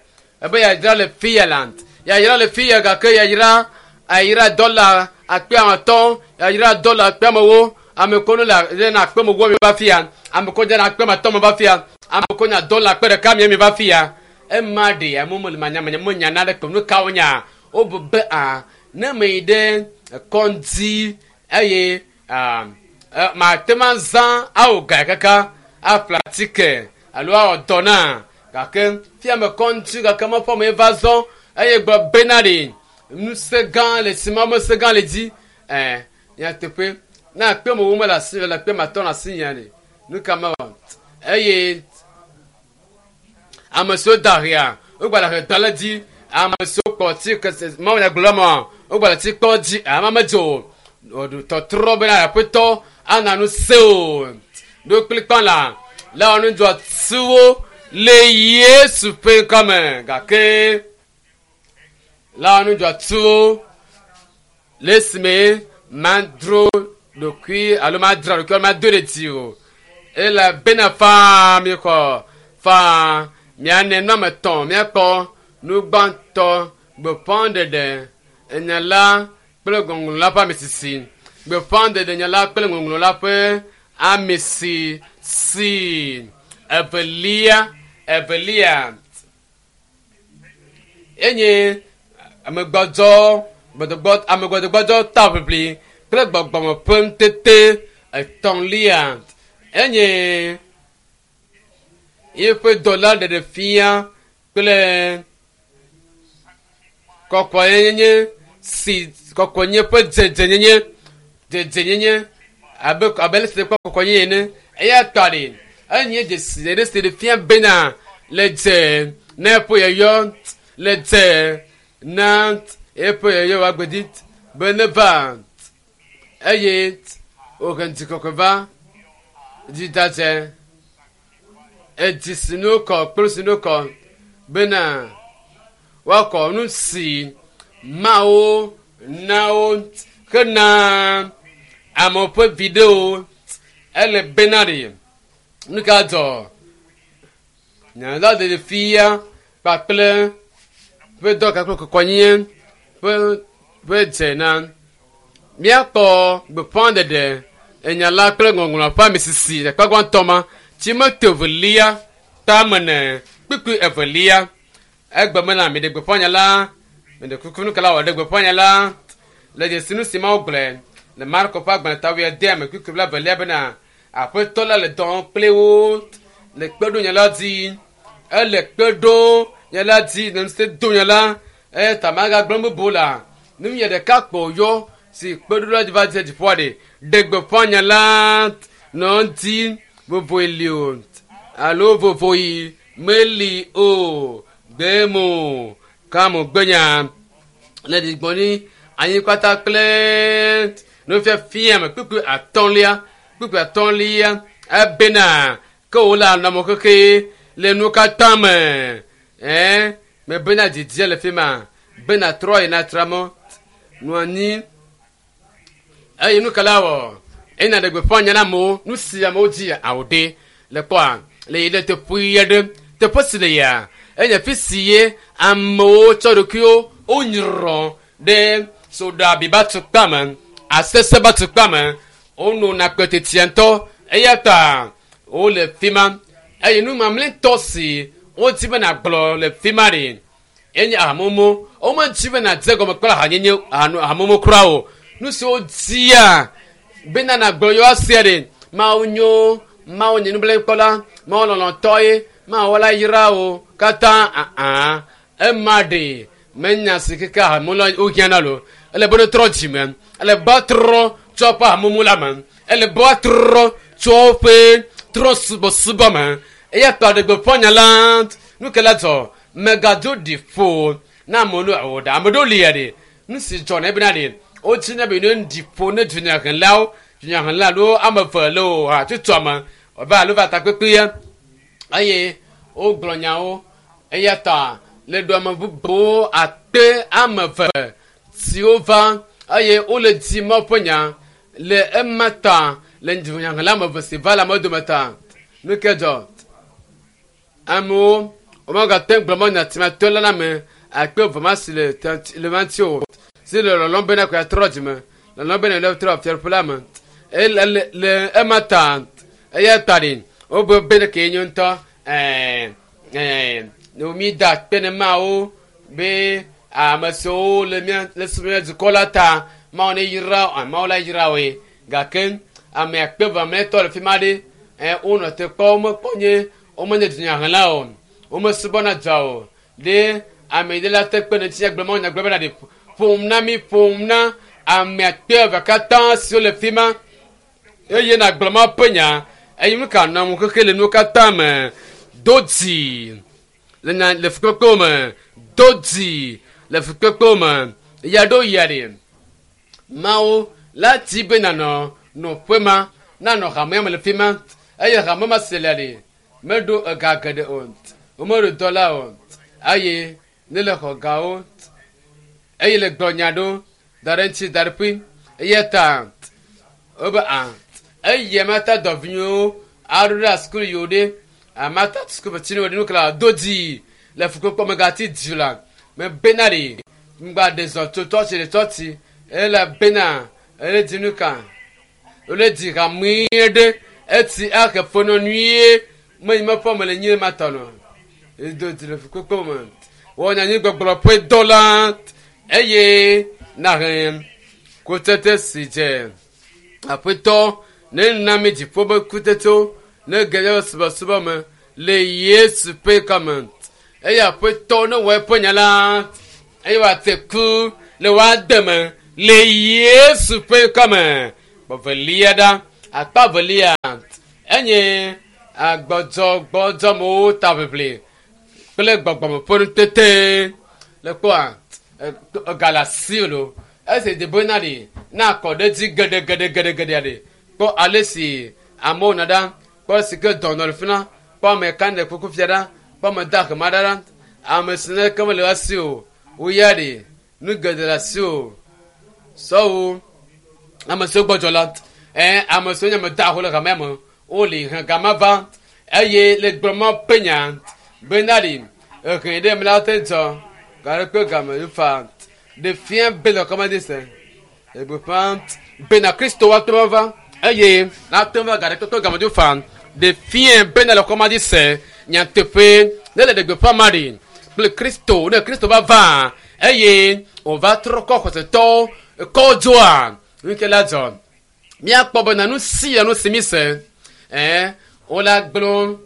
ebe yadzra le fia la yadzra le fia gake yadzra ayira dɔla akpe ame atɔ̃ yadzra dɔla akpe amewo ame ko ne le na akpe amewo mi va fia ame ko dze na akpe ame atɔ̃ mi va fia ame ko nya dɔla akpe ɖeka mi mi va fia ema ɖe ame me le manyamanya me nya na ɖe kpe nu kawo nya wobu be a ne me yi ɖe kɔndzi eye a mate ma zã awo ga kaka aƒle atike alo awɔ dɔ na gake fia me kɔndzi gake meƒe me va zɔ eye gblɔ bena ɖe ŋusẽ gã le si ma ŋusẽ gã le dzi ɛ nyateƒe ne akpe me wo mele asi le akpe me atɔ le asi nya ɖe nu ka mewɔ eye ame siwo da hea wogba le he da le dzi ame siwo kpɔ tsi kese mawu nya gblɔ ma wogba le tsi kpɔ dzi ama medzo o tɔtrɔ bena aƒetɔ ana nu se o ɖo kplikpa la le wɔnu dzɔ tuwo le Yesu ƒe ŋkɔme gake le wɔnu dzɔ tuwo le esime madro ɖokui alo madra ɖokui alo mado ɖe dzi o elabena faa mi xɔ faa miane nu ame etɔ̃ miakpɔ nu gbãtɔ gbeƒãɖeɖe enya la kple ŋɔŋlɔ la ƒe ame sisi gbeƒãɖeɖe nya la kple ŋɔŋlɔ la ƒe ame sisi evelia evelia enye amegbɔdzɔ gbɔdɔgbɔ amegbɔdɔgbɔdzɔ taʋiʋli kple gbɔgbɔme ƒe ŋutete etɔ̃lia enye yeƒe dɔla ɖeɖe fia kple kɔkɔenyenye si kɔkɔenye ƒe dzedzenyenye dzedzenyenye abe abe le si kpɔ kɔkɔ nye ene eya tɔ ɖe enye dzesi ɖe si ɖe fia bena le dze na eƒe yɔyɔ le dze na eƒe yɔyɔ wòagbedi be ne va eye wòhe ŋutikɔkɔe va dzidadze edzi si nu kɔ kple si nu kɔ bena woakɔ nu si mawo na wo hena amewo ƒe viɖewo ele bena ɖe nu ka dzɔ nyala ɖe fia kpakple ƒe dɔ kakple kɔkɔnye ƒe ƒe dze na míakpɔ gbeƒãɖeɖe enyala kple ŋɔŋlɔ ƒe ame sisi le kpagbãtɔ ma timote evelia tame ne kpukpui evelia egbe me la mi ɖe gbeƒã nya la mi ɖe kuku nu kala wɔ ɖe gbeƒã nya la le dzesi nu si mawo gblɔe le Marko ƒe agbalẽ ta wuiade ame kpukpui blaevelia bena aƒetɔ la le dɔ wɔm kple wo le kpe ɖo nya la dzi ele kpe ɖo nya la dzi le ŋusẽ do nya la eya ta magagblɔ bubu la nu nye ɖeka kpo yɔ si kpe ɖo la dzi va dze dziƒoa ɖe ɖe gbeƒã nya la nɔ ŋuti vovoe li o alo vovoyi meli o gbemo kamo gbenya le ɖigbɔni anyi kpata kple nufiafia me kpukpui atɔ̃lia kpukpui atɔ̃lia ebena ke wo le anɔmɔ keke le nu katã me ɛɛ mebena didia le fi ma bena trɔ yina tra mɔ nɔ anyi eye nu ka la wɔ ena ɖe gbeƒã nya na amewo nu si amewo dzi awo ɖe le kpɔa le yi ɖe teƒe aɖe teƒe si le ya enye fi si ye amewo tsɔ ɖokuiwo wonyrɔ ɖe soɖabi ba tukpa me asese ba tukpa me wonona kpetetia ŋutɔ eya ta wole fi ma eye nu mamlɛtɔ si wodi be nàgblɔ le fi ma ɖe enye ahamumu womedi be nàdze gɔme kple ahanyenye ahamumu kura o nu si wodia bena nàgblɔ yewoa sia ɖe mawu nyo mawu nye nublanuikpɔla mawu lɔlɔ̃tɔ ye mawu la yra wo katã aa ema ɖe menya si keke ahamumu wohiã lo ele be ne trɔ dzime ele be trɔ tso eƒe ahamumu la me ele be woatrɔ tso woƒe trɔ subɔsubɔ me eya ta ɖe gbeƒã nya la nu ke la dzɔ megado ɖi ƒo na amewo no o ɖe ame ɖewo lia ɖe nu si dzɔ na ebena ɖe wotsi na be ne ɖi ƒo ne dunyahelawo dunyahela alo ame eve le o hatsotsoa me va alo va takpekpea eye wogblɔ nyawo eya ta le ɖo ame bubuwo akpe ame eve siwo va eye wole di Mawu ƒe nya le ema ta le dunyahela ame eve si va le ame dome ta nu ke dzɔ amewo womegate ŋu gblɔ mɔ nyatimatɔ la na ame akpe eve ma si le le ma ŋuti o si le lɔlɔm bena ko yeatrɔ dzime lɔlɔm bena yeatrɔ fiaɖuƒe la me ele le le ema ta eya ta ɖi wobe be ke nyo ŋutɔ ɛɛ ɛɛ mi da akpe ne mawo be ame siwo le mía le mía dukɔ la ta mawo ne yra mawo la yra woe gake ame akpe eve mamlɛtɔ le fi ma ɖe ɛ wonɔ te kpɔ womekpɔ nye womenye dunyahela o womesubɔna dza o ɖe ame ɖe la te kpe ne ŋuti gblɔ mawu nya gblɔ bena ɖe ƒom na mi ƒom na ame akpe eve katã siwo le fi ma eye nàgblɔ mawu ƒe nya eye nu ka nɔ xexe le nuwo katã me do dzi le nya le fukpekpewo me do dzi le fukpekpewo me ya ɖo yia ɖe mawu la ti be nanɔ nɔƒe ma nanɔ hamea me le fi ma eye hame ma si le ɖe meɖo ega geɖe o womeɖo dɔla o eye ne le xɔ gawo eye le gblɔ nya ɖo da ɖe ŋuti da ɖe ƒui eya ta wobe a eye mata dɔvinyuiwo aɖo ɖe sukulu yiwo ɖe amata sukulu tsi ne nu kla do dzi le fukpekpe megati dzi la mebena ɖe ŋgba ɖe zɔ tso tsɔtsi ɖe tsɔtsi ele bena ele dzi nu ka wole dzi hamui ɖe eti ahe fenɔ nyuie menyi meƒe me le nyi ma tɔ nɔ edo dzi le fukpekpe me wɔ nyanyi gbɔgblɔ ƒe dɔ la eye nahe kutsetse si dze aƒetɔ ne na mi dziƒo be kutsetsewo ne ge ɖe subɔsubɔ me le Yesu ƒe kɔme eye aƒetɔ ne wɔ eƒe nya la eye wòate ku le woade me le Yesu ƒe kɔme gbɔvelia ɖa. Akpa velia enye agbɔdzɔgbɔdzɔmewo taʋiʋli kple gbɔgbɔme ƒe nutete le kpɔa galasi lo esi debe na ɖi na akɔ ɖe dzi geɖegeɖegeɖegeɖea ɖi kpɔ ale si amewo nɔ ɖa kpɔ si ke dɔnɔ le fi na kpɔ ame ka ne kuku fia ɖa kpɔ ame da hema ɖa ɖa ame si ne ke mele asi o woya ɖi nu geɖe le asi o sɔwo ame siwo gbɔdzɔ la ɛ ame siwo nye ame da ho le hamea me wole hẽ gama va eye le gblɔmɔ ƒe nya bena ɖi ehe ɖe me la te dzɔ gare kpe game fa ɖe fia be le kɔmadi se egbeƒã bena kristo wa te va eye la te va gare kpe game do fa ɖe fia bena le kɔmadi se nyateƒe ne le ɖegbeƒã ma ɖi kple kristo ne kristo va va eye wòva trɔ kɔ xɔsetɔwo kɔ dzoa nu ke la dzɔ míakpɔ bena nu si ya nu si mi se ɛɛ wola gblɔ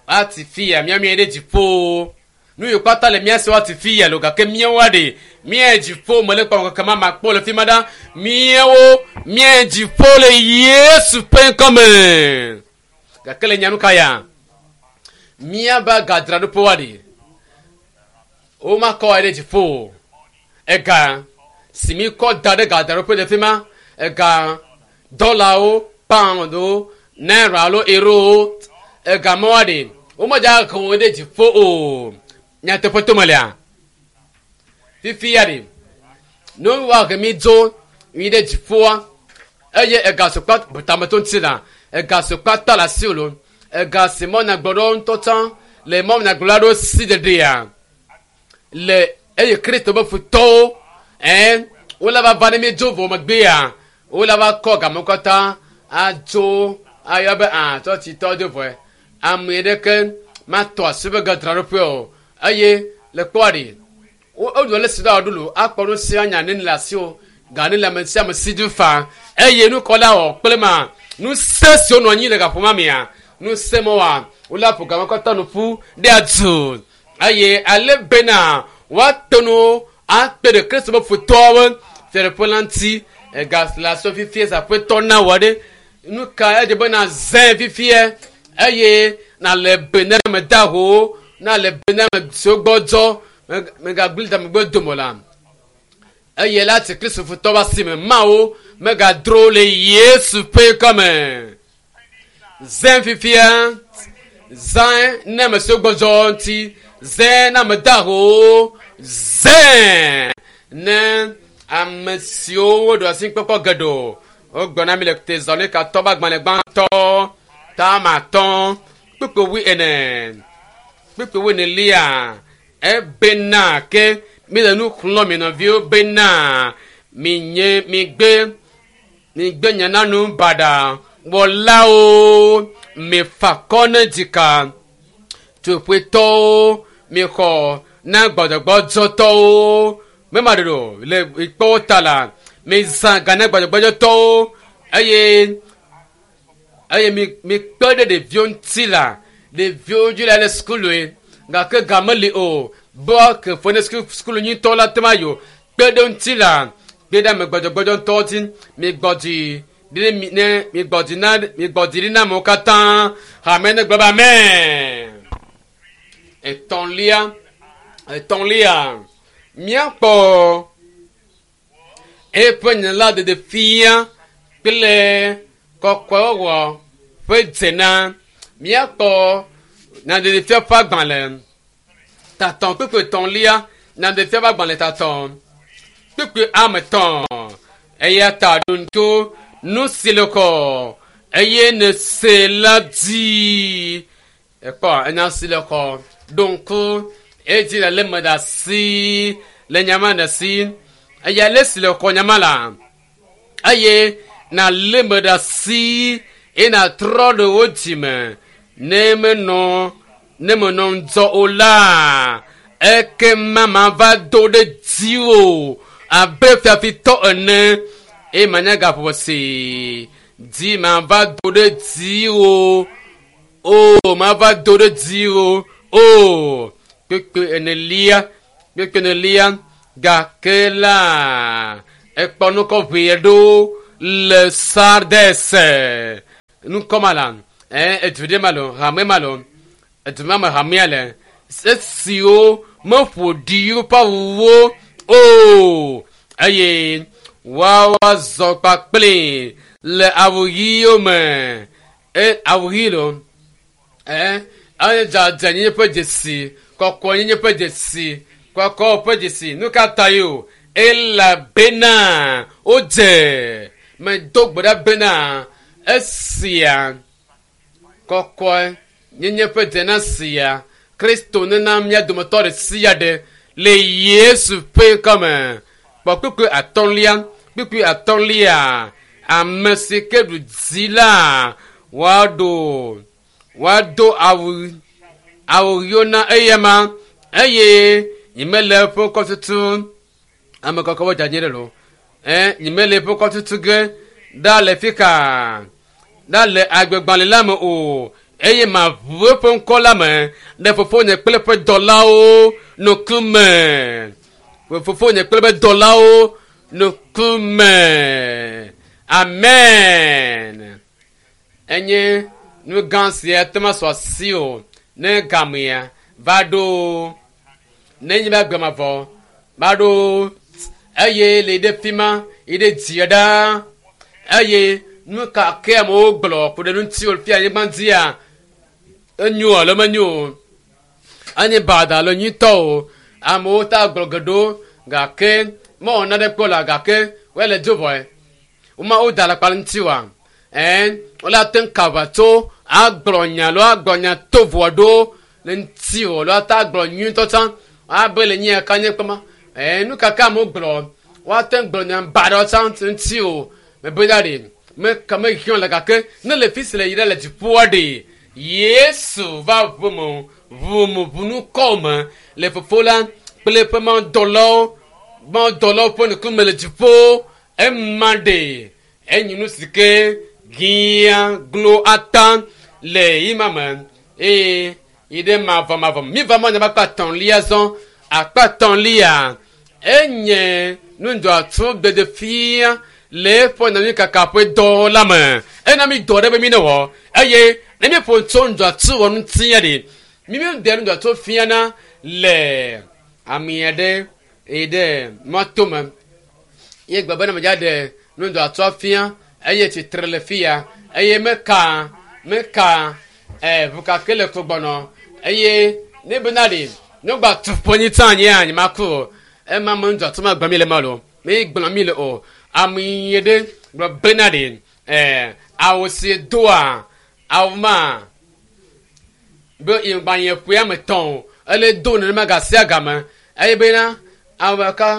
ati fi ya míamia ɖe dziƒo nu yiwo kpata le mía si woati fi ya lo gake míawoa ɖe mía dziƒo me le kpɔ keke ma ma kpɔ le fi ma ɖa míawo mía dziƒo le Yesu ƒe ŋkɔme gake le nyanu ka ya míaba gadzraɖoƒe wa ɖe womakɔ wa ɖe dziƒo ega si mi kɔ da ɖe gadzraɖoƒe le fi ma ega dɔlawo poundwo naira alo eurowo ega ma wa ɖe womedza he wo ɖe dziƒo o nyateƒe to me lea fifi ya ɖe ne woahe mi dzo mi ɖe dziƒoa eye ega si kpa tameto ŋuti la ega si kpata le asi lo ega si mɔnyagblɔɖewo ŋutɔ tsã le mɔnyagblɔɖa ɖewo si ɖeɖea le eye kristo be futɔwo ɛn wole va va ne mi dzo vɔ megbea wole va kɔ game katã adzo ayɔ be a tsɔtsitɔ do vɔe ame ɖeke matɔ asi be gadzraɖoƒe o eye le kpɔa ɖi woɖo le si ɖe aɖu lo akpɔ nu sia nya ne le asi o ga ne le ame sia ame si dzi fa eye nukɔla wɔ kple ma nu se siwo nɔ anyi le gaƒoma mea nu se ma wa wole aƒo game katã nu ƒu ɖe adu eye ale bena woate nu akpe ɖe kristu be futɔwo fiaɖuƒe la ŋuti ega le asɔ fifie zaƒetɔ na wɔ ɖe nu ka edze be na zẽ fifie eye na le be ne ame da ho na le be ne ame siwo gbɔdzɔ megagblẽ damegbe dome la eye la ti kristu futɔ ba si me mawo megadro le yesu ƒe kɔme zẽ fifia zẽ ne ame siwo gbɔdzɔ ŋuti zẽ ne ame da ho zẽ ne ame siwo woɖo asi kpɔkpɔ geɖewo wogblɔ na mi le Tesalonikatɔ be agbalẽ gbãtɔ tamatɔ kpukpui wui ene kpukpui wui enelia ebena ke mi le nu xlɔ̃ mi nɔviwo bena mi nye mi gbe mi gbe nyananu baɖa wɔlawo mi fa kɔ ne dzika tsoƒetɔwo mi xɔ na gbɔdzɔgbɔdzɔtɔwo mema ɖeɖo le ikpɔwo ta la mi zã ga na gbɔdzɔgbɔdzɔtɔwo eye eye mi mi kpe ɖe ɖeviwo ŋuti la ɖeviwo dzi la le sukulue gake ga meli o bɔ ke fo ne sukulu nyuitɔ la te ma yi o kpe ɖe ŋuti la kpe ɖe ame gbɔdzɔgbɔdzɔ ŋutɔ dzi mi gbɔ dzi ɖi mi ne mi gbɔ dzi na mi gbɔ dzi ɖi na amewo katã hame ne gblɔ be amen etɔ̃lia etɔ̃lia míakpɔ eƒe nya la ɖeɖe fia kple kɔkɔewɔwɔ ƒe dzena míakpɔ nyaɖeɖefia ƒe agbalẽ tatɔ kpekpe etɔ̃lia nyaɖeɖefia ƒe agbalẽ tatɔ kpekpe ame etɔ̃ eya ta ɖo ŋku nu si le kɔ eye ne se la dzi ekpɔ enya si le kɔ ɖo ŋku edzi le lé me ɖe asi le nyama ɖe asi eya le si le kɔ nyama la eye na lé me ɖe asi eye na trɔ ɖe wo dzime ne menɔ ne menɔ ŋdzɔ o la ekema mava do ɖe dziwò abe fiafitɔ ene eye manya gaƒoƒo si dzi mava do ɖe dziwò o mava do ɖe dziwò o kpekpe enelia kpekpe enelia gake la ekpɔ nu kɔ ʋee ɖo le Sardes nukɔma la ɛ edu ɖe ma lo hame ma lo edu ma me hamea le esiwo meƒo ɖi woƒe awuwo o eye woawoa zɔ kpakple le awu ɣiwo me e awu ɣi lo ɛ eye dzadzɛnyenye ƒe dzesi kɔkɔnyenye ƒe dzesi kɔkɔ ƒe dzesi nu ka ta yi o elabena wodze medo gbe ɖa bena esia kɔkɔe nyenye ƒe dzena sia kristo nena mía dometɔ ɖe sia ɖe le yesu ƒe ŋkɔme kpɔ kpukpui atɔ̃lia kpukpui atɔ̃lia ame si ke ɖu dzi la woaɖo woado awu awu ɣiwo na eyama eye nyemele eƒe ŋkɔ tutu ame kɔkɔ wo dzadze ɖe lo ɛ nyemele eƒe ŋkɔ tutu ge ɖa le fi ka ɖa le agbegbalẽ la me o eye maʋu eƒe ŋkɔ la me ɖe fofonye kple eƒe dɔlawo ŋkume fofonye kple eƒe dɔlawo ŋkume amen enye nu gã sia te ma sɔ asi o ne gamea va ɖo ne nye be agbemavɔ va ɖo eye le ɖe fi ma yi ɖe dzia ɖaa eye nu ka ke amewo gblɔ ku ɖe ŋuti o fi anyigba dzia enyo alo menyo o enye bada alo nyuitɔ o amewo ta gblɔ geɖewo gake mewɔ nane kpɔ la gake wole dzo vɔe woma woda le akpa ŋuti wa ɛn wole ate ŋu kava tso agblɔ nya alo agblɔ nya tovoa ɖo le ŋuti o alo ate agblɔ nyuitɔ tsã abe le nyia ka nye kpɔma ɛn nu kaka amewo gblɔ woate ŋu gblɔ nya baɖawo tsã ŋuti o mebe da ɖe meka mehiã le gake ne le fi si le yi ɖe le dziƒoa ɖe yesu va ʋume ʋume ʋunukɔ me le fofo la kple eƒe mawudɔlawo mawudɔlawo ƒe ŋkume le dziƒo ema ɖe enyi nu si ke giã glo ata le yi ma me eye yi ɖe mavɔmavɔ mi va mɔ nyaba akpa atɔ̃lia zɔ akpa atɔ̃lia enye nudzɔatso dede fia le eƒe nyanyui kaka ƒe dɔ la me ena mi dɔ ɖe be mi ne wɔ eye ne mi ƒo tso nudzɔatso wɔ ŋuti ya ɖe mi mi de nudzɔatso fiana le ame aɖe yi ɖe mɔto me ye gbe bena medza ɖe nudzɔatsoa fia eye tsitre le fia eye meka meka ɛ ʋukake le kpo gbɔnɔ eye ne bena ɖe ne gba tu ƒonyi tsã anyi anyi ma ku o ema me nudzɔatso ma gblɔ mi le ma lo mi gblɔ mi le o ame yi ɖe gblɔ bena ɖe ɛ awu si doa awu ma be ìgbànyẹ ƒe ame tɔn o ele do nenema gasia game eye bena awu ka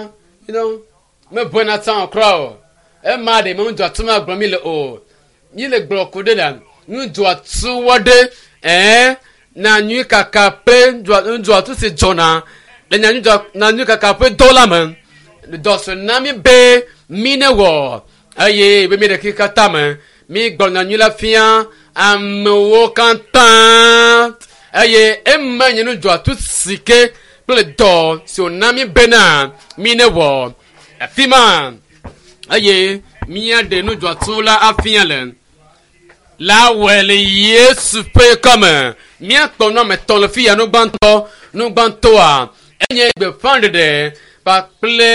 you know mebɔna tsã o kura o ema ɖe me nudzɔatso ma gblɔ mi le o mi le gblɔ ku ɖe la nudzɔatso wɔ ɖe ɛɛ na nyui kaka ƒe nudzɔatso si dzɔna le na nyui kaka ƒe dɔ la me dɔsɔ na mi be mi ne wɔ eye be mi ɖeki katã me mi gblɔ nyanyui la fia amewo katã eye ema nye nudzɔatso si ke kple dɔ si wòna mi bena mi ne wɔ afi ma eye míaɖe nudzɔatso la afia le la wɔe le yesu ƒe kɔme míakpɔ nu ame etɔ̃ le fi ya nugbãtɔ nugbãtɔa enye gbeƒãɖeɖe kpakple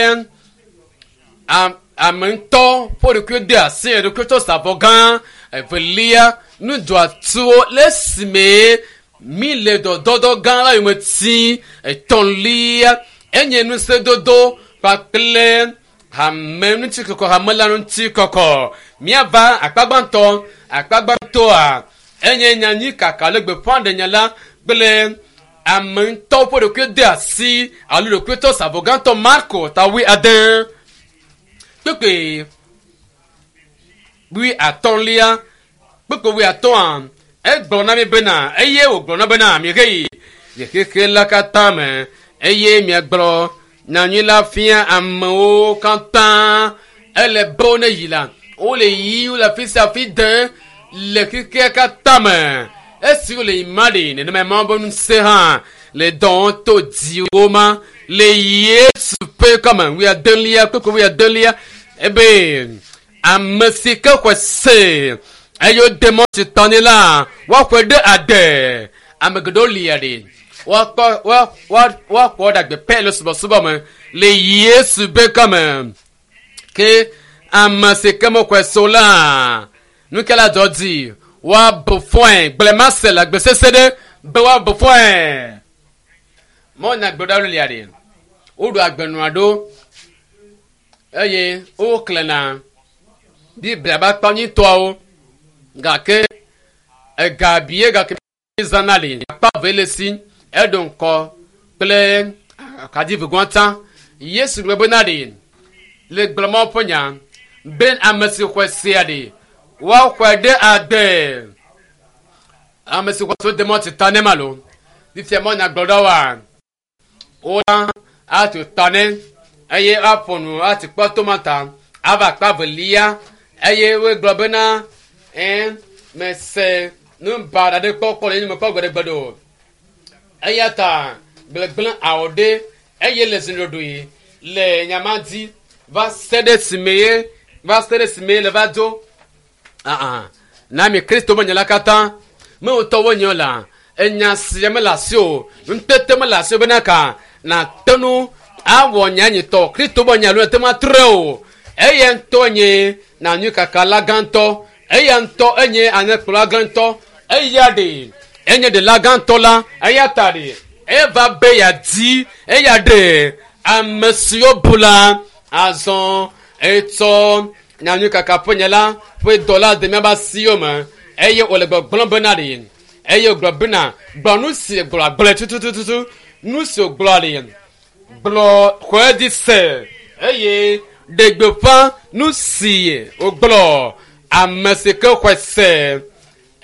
ame ŋutɔ ƒe ɖokui de asi eɖokui tsɔ sa avɔ gã evelia nudzɔatsowo le esime mi le dɔdɔdɔ gã la yome ti etɔ̃lia enye ŋusẽdodo kpakple hame ŋuti kɔkɔ hame la ŋuti kɔkɔ míava akpa gbãtɔ akpa gbãtɔa enye nyanyui kaka le gbeƒãɖenya la kple ame ŋutɔ ƒe ɖokui de asi alo ɖokui tɔ sa avɔ gãtɔ marko ta wui ade kpekpe wui atɔ̃lia kpekpe wui atɔ̃a egblɔ na mi bena eye wògblɔ na bena mihe yi le xexe la katã me eye miagblɔ nyanyui la fia amewo katã ele be wo ne yi la wole yi wole afi sia afi de le xexea katã me esi wole yi ma ɖe nenema mawu be ŋusẽ hã le dɔwɔm to dziwo ma le yesu ƒe kɔme wuiadelia kpekpe wuiadelia ebe Ame si ke xɔe se eye wode mɔ si tɔ nɛ la woaxɔe ɖe ade. Ame geɖewo lia ɖi woakpɔ woa woa woaxɔ ɖe agbe pɛ le subɔsubɔ me le Yesu be kɔme. Ke ame si ke mexɔe se o la nu ke la dzɔ dzi woabu fɔe gblema se le agbe sese ɖe be woabu fɔe. Mɔnya gbeɖewo lia ɖi woɖo agbenua ɖo eye woklẽna Biblia be akpa nyuitɔawo gake ega bie gake zãna li akpa ve le si eɖo ŋkɔ kple akadivegɔta. Yesu gblɔ bena ɖi le gblɔmɔ ƒe nya be ame si xɔe sea ɖi woaxɔe ɖe agbe. Ame si xɔe se wode mɔ tsi ta ne ma lo fifia mɔ nyagblɔɖawoa wola atu ta ne eye aƒo nu ati kpɔ tomata ava akpa velia eye wogblɔ bena ɛ mese nu baɖa ɖe kpɔ kpɔ le nye me kpɔ gbeɖegbeɖe o. Eya ta gblegblẽ awɔ ɖe eye le ziɖoɖoe le nyama dzi va se ɖe sime ye va se ɖe sime ye le va dzo. Aa na mi Kristo be nya la katã me ŋutɔ wonye la enya sia mele asi o ŋutete mele asi o bena ka nàte nu awɔ nya nyitɔ Kristo be nya lo ete ma trɔe o. Eya ŋutɔ nye nanyui kaka la gãtɔ eya ŋutɔ enye alẽkplɔla gãtɔ eya ɖe enye ɖela gãtɔ la eya ta ɖe eva be yeadi eya ɖe ame siwo bu la azɔ etsɔ nyanyui kaka ƒe nya la ƒe dɔ la de míaƒe asiwo me eye wòle gbɔgblɔm bena ɖe eye wògblɔ bena gblɔ nu si gblɔ gblɔe tutututu nu si wògblɔ ɖe gblɔ xɔe dzi se eye ɖe gbeƒã nu si wògblɔ ame si ke xɔe se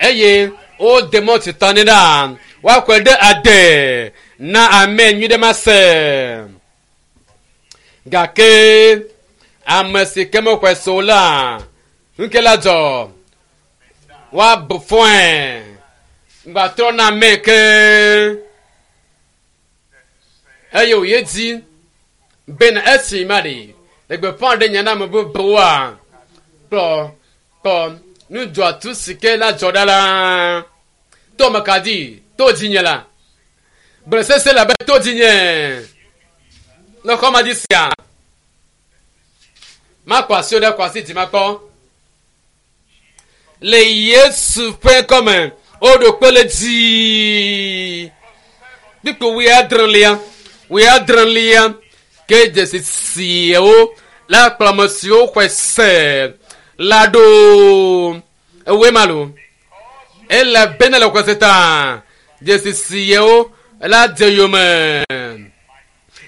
eye wode mɔ tsi ta nɛ ɖa woaxɔe ɖe ade na ame nyui ɖe ma se. Gake ame si ke mexɔe se o la nu ke la dzɔ woabu fɔe gbatrɔ na ame ke eye wòye dzi bena esi ma ɖe le gbeƒã ɖe nya na ame bubuwoa kplɔ kpɔ nudzɔatu si ke la dzɔ ɖa la to me ka dzi to dzinye la gblẽ sese le abe to dzinye le xɔma dzi sia makɔ asiwo ɖe kɔ asi dzi makpɔ le Yesu ƒe kɔme woɖo kpe le dzi kpikpo wuiadrelia wuiadrelia ke dzesi siawo la kplɔ ame siwo xɔe se la ɖo ewoe ma lo ele bena le xɔse ta dzesi siawo la dze yome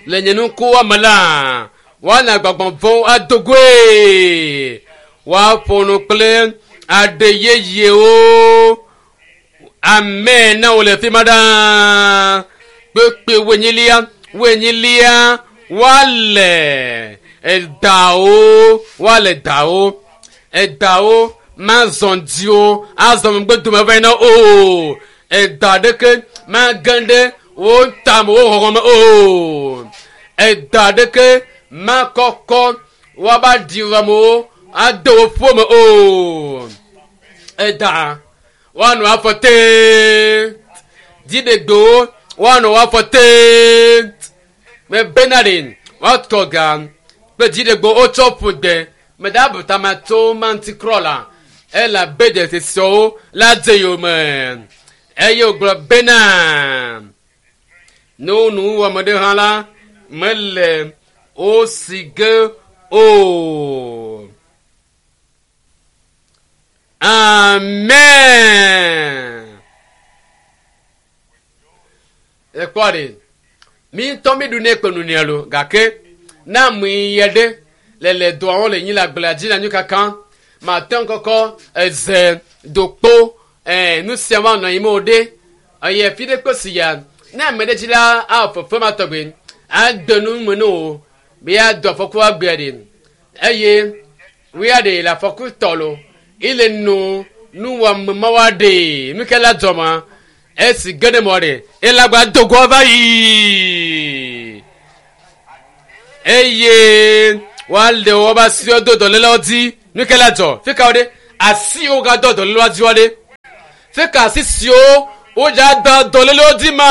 le nye nukuwo me la woana gbɔgbɔ vɔ̃wo ado goe woaƒo nu kple aɖe yeyewo ame na wo le fi ma ɖaa kpekpe wenyilia wenyilia woale edawo woale dawo edawo mazɔ dziwo azɔ megbe dome va yina o eda ɖeke mage ɖe wo tame wo xɔxɔ me o eda ɖeke makɔkɔ woaba ɖi amewo ade wo ƒome o eda woanɔ afɔ tee dziɖegbewo woanɔ wo afɔ tee me bena ɖe woatɔ ga kple dziɖegbewo wotsɔ ƒo gbe me da bu tama tso manti krɔ la elabe dzesiawo la dze yome eye wògblɔ bena ne wo nu wɔme ɖe hã la mele wo si ge o. Amen. Ekpɔ ɖe mi ŋutɔ mi ɖu ne kpe nu nea lo gake na mu yɛ ɖe le le dɔa le nyi le agblea dzi le anyi kaka mate ŋu kɔkɔ eze dokpo ɛɛ nu sia wa nɔ anyi me o ɖe eye fi ɖe kpe si ya ne ame ɖe dzi la awɔ fefe ma tɔgbe ade nu me ne o be ya do afɔku agbea ɖe eye wuya ɖe le afɔku tɔ lo ile nu nuwɔame ma wa ɖe nu ke la dzɔ ma esi ge ɖe mɔ ɖe elagba dogoa va yi eye woale woƒe asiwo do dɔlélewo dzi Nu ke la dzɔ fi ka wo ɖe asiwo gadɔ dɔlélewoa dzi wa ɖe fi ka asi siwo wodza da dɔlélewo dzi ma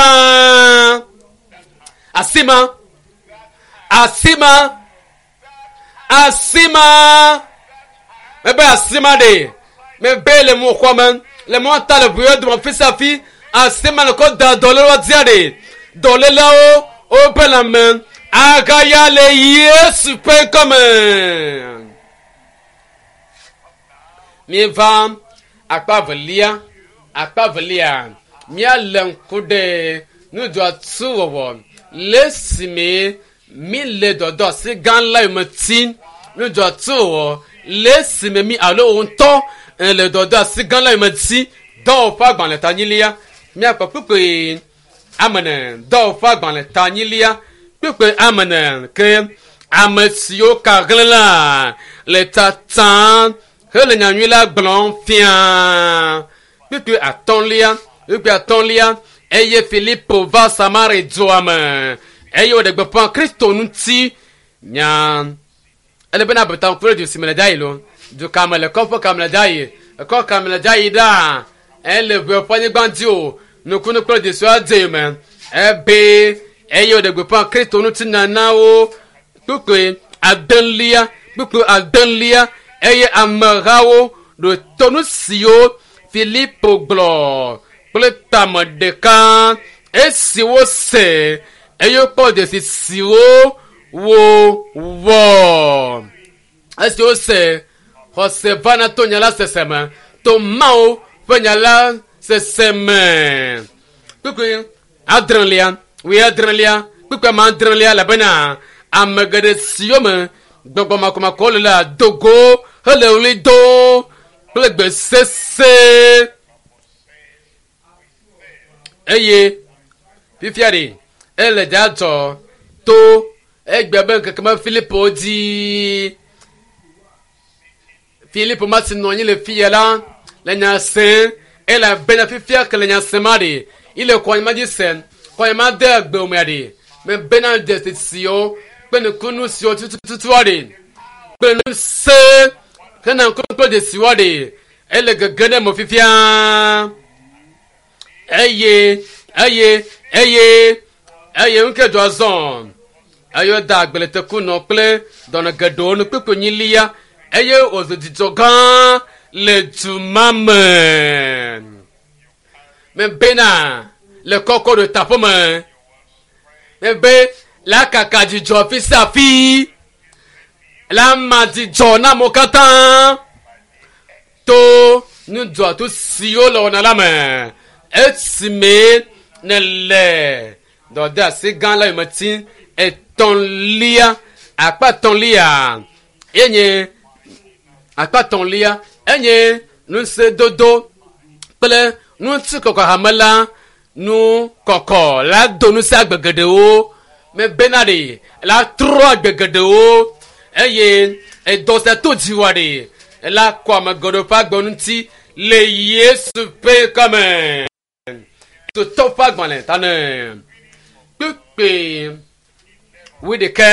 asi ma asi ma asi ma mebe asi ma ɖe mebe le mo xɔ me le mɔ ta le ʋuye dome fi sia fi asi ma le kɔ da dɔlélewoa dzia ɖe dɔléleawo wobe lãme agaya le Yesu ƒe ŋkɔme. Míeva akpa velia akpa velia míalé ŋku ɖe nudzɔatsuwɔwɔ le esime mi le dɔdɔ asi gã la yome tim nudzɔatsuwɔwɔ le esime mi alo wo ŋutɔ le dɔdɔ asi gã la yome tim dɔwɔƒe agbalẽ tanyilia míakpɔ kpukpui amene dɔwɔƒe agbalẽ tanyilia kpukpui amene ke ame siwo ka hlẽ la le tatam hele nyanyui la gblɔm fia kpukpui atɔ̃lia kpukpui atɔ̃lia eye Filipo va Samari dua me eye wòɖe gbeƒã Kristo ŋuti nya ele bena abeta ŋku ɖe du si me le da yi lo du ka me le kɔƒe ka me le da yi ekɔ ka me le da yi ɖaa ele ʋe ƒe anyigba dzi o nukunu kple dzesiwo adze me ebe eye wòɖe gbeƒã Kristo ŋuti nya na wo kpukpui adelia kpukpui adelia eye amehawo ɖo to nu siwo Filipo gblɔ kple tame ɖeka esi wose eye wokpɔ dzesi siwo wowɔ esi wose xɔse vana to nya la sese me to Mawu ƒe nya la sese me kpukpui adrelia wuiadrelia kpukpui ame adrelia elabena ame geɖe siwo me gbɔgbɔ makɔmakɔwo le la do go hele ɣli dom kple gbe sese eye fifia ɖe ele dzadzɔ to egbe be ŋkeke me Filipo dzi Filipo ma si nɔ anyi le fiya la le nya sem elabena fifia ke le nya sem ma ɖe ile kɔnyima dzi sem kɔnyima de agbe mea ɖe mebena dzesi siwo kple nukunu siwo tututua ɖe kple nu se hena ŋkunu kple dzesiwoa ɖe ele gege ɖe me fifia eye eye eye eye ŋke dɔ zɔ eye woda agbletekunɔ kple dɔnɔ geɖewo nu kpekpe nyilia eye wòzu dzidzɔ gã le du ma me mebena le kɔkɔ ɖo taƒe me mebe la kaka dzidzɔ fi sia fi la ma dzidzɔ na amewo katã to nudzɔatu siwo le wɔna la me esime nele dɔdeasi gã la yome tim etɔ̃lia akpa etɔ̃lia enye akpa etɔ̃lia enye ŋusẽdodo kple ŋutikɔkɔ hame la nu kɔkɔ la do ŋusẽ agbe geɖewo mebena ɖe la trɔ agbe geɖewo eye edɔ sia to dziwɔ ɖe la kɔ ame geɖewo ƒe agbe ŋuti le Yesu ƒe ŋkɔme. Totɔ ƒe agbalẽ ta ne kpekpe wuiɖekɛ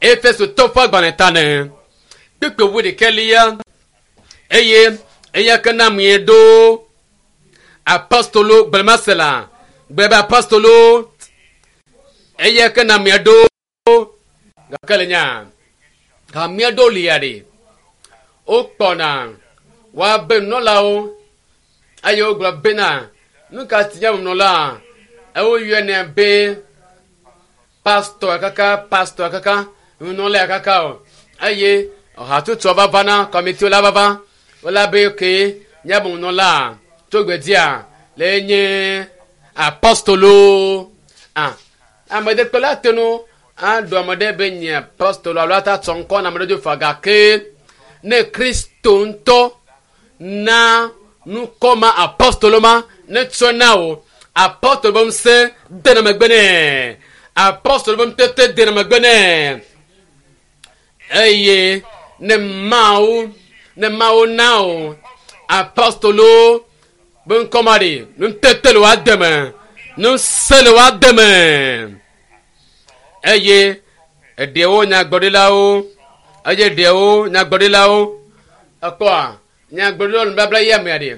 Efesotɔ ƒe agbalẽ ta ne kpekpe wuiɖekɛ lia eye eya ke na mie ɖo apostolo gblẽmasela gblẽ be apostolo eya ke na mie ɖo gake le nya hamea ɖo lia ɖe wokpɔna woabe nunɔlawo eye wogblɔ bena nu ka ti nye nunɔla ewoyɔnɛ be pastor kaka pastor kaka nunɔla kaka o eye hatsotsoa va vana kɔmitiwo la va va wola be ke nye nunɔla tso gbedzia le nye apostolo ah ame ɖe kpe la te nu aɖu ame ɖe be nye apostolo alo ata tsɔ ŋkɔ na ame ɖe dzo fa gake ne Kristo ŋutɔ na nukɔ ma apostolo ma ne tsɔ na wo apostolo be ŋusẽ dena megbe nɛ apostolo be ŋutete dena megbe nɛ eye ne Mawu ne Mawu na wo apostolo be ŋkɔ ma ɖe nutete le woa deme ŋusẽ le woa deme eye eɖewo nyagblɔɖilawo Eye ɖewo nyagblɔɖilawo ekpɔa nyagblɔɖilawo nubabla yi amea ɖe.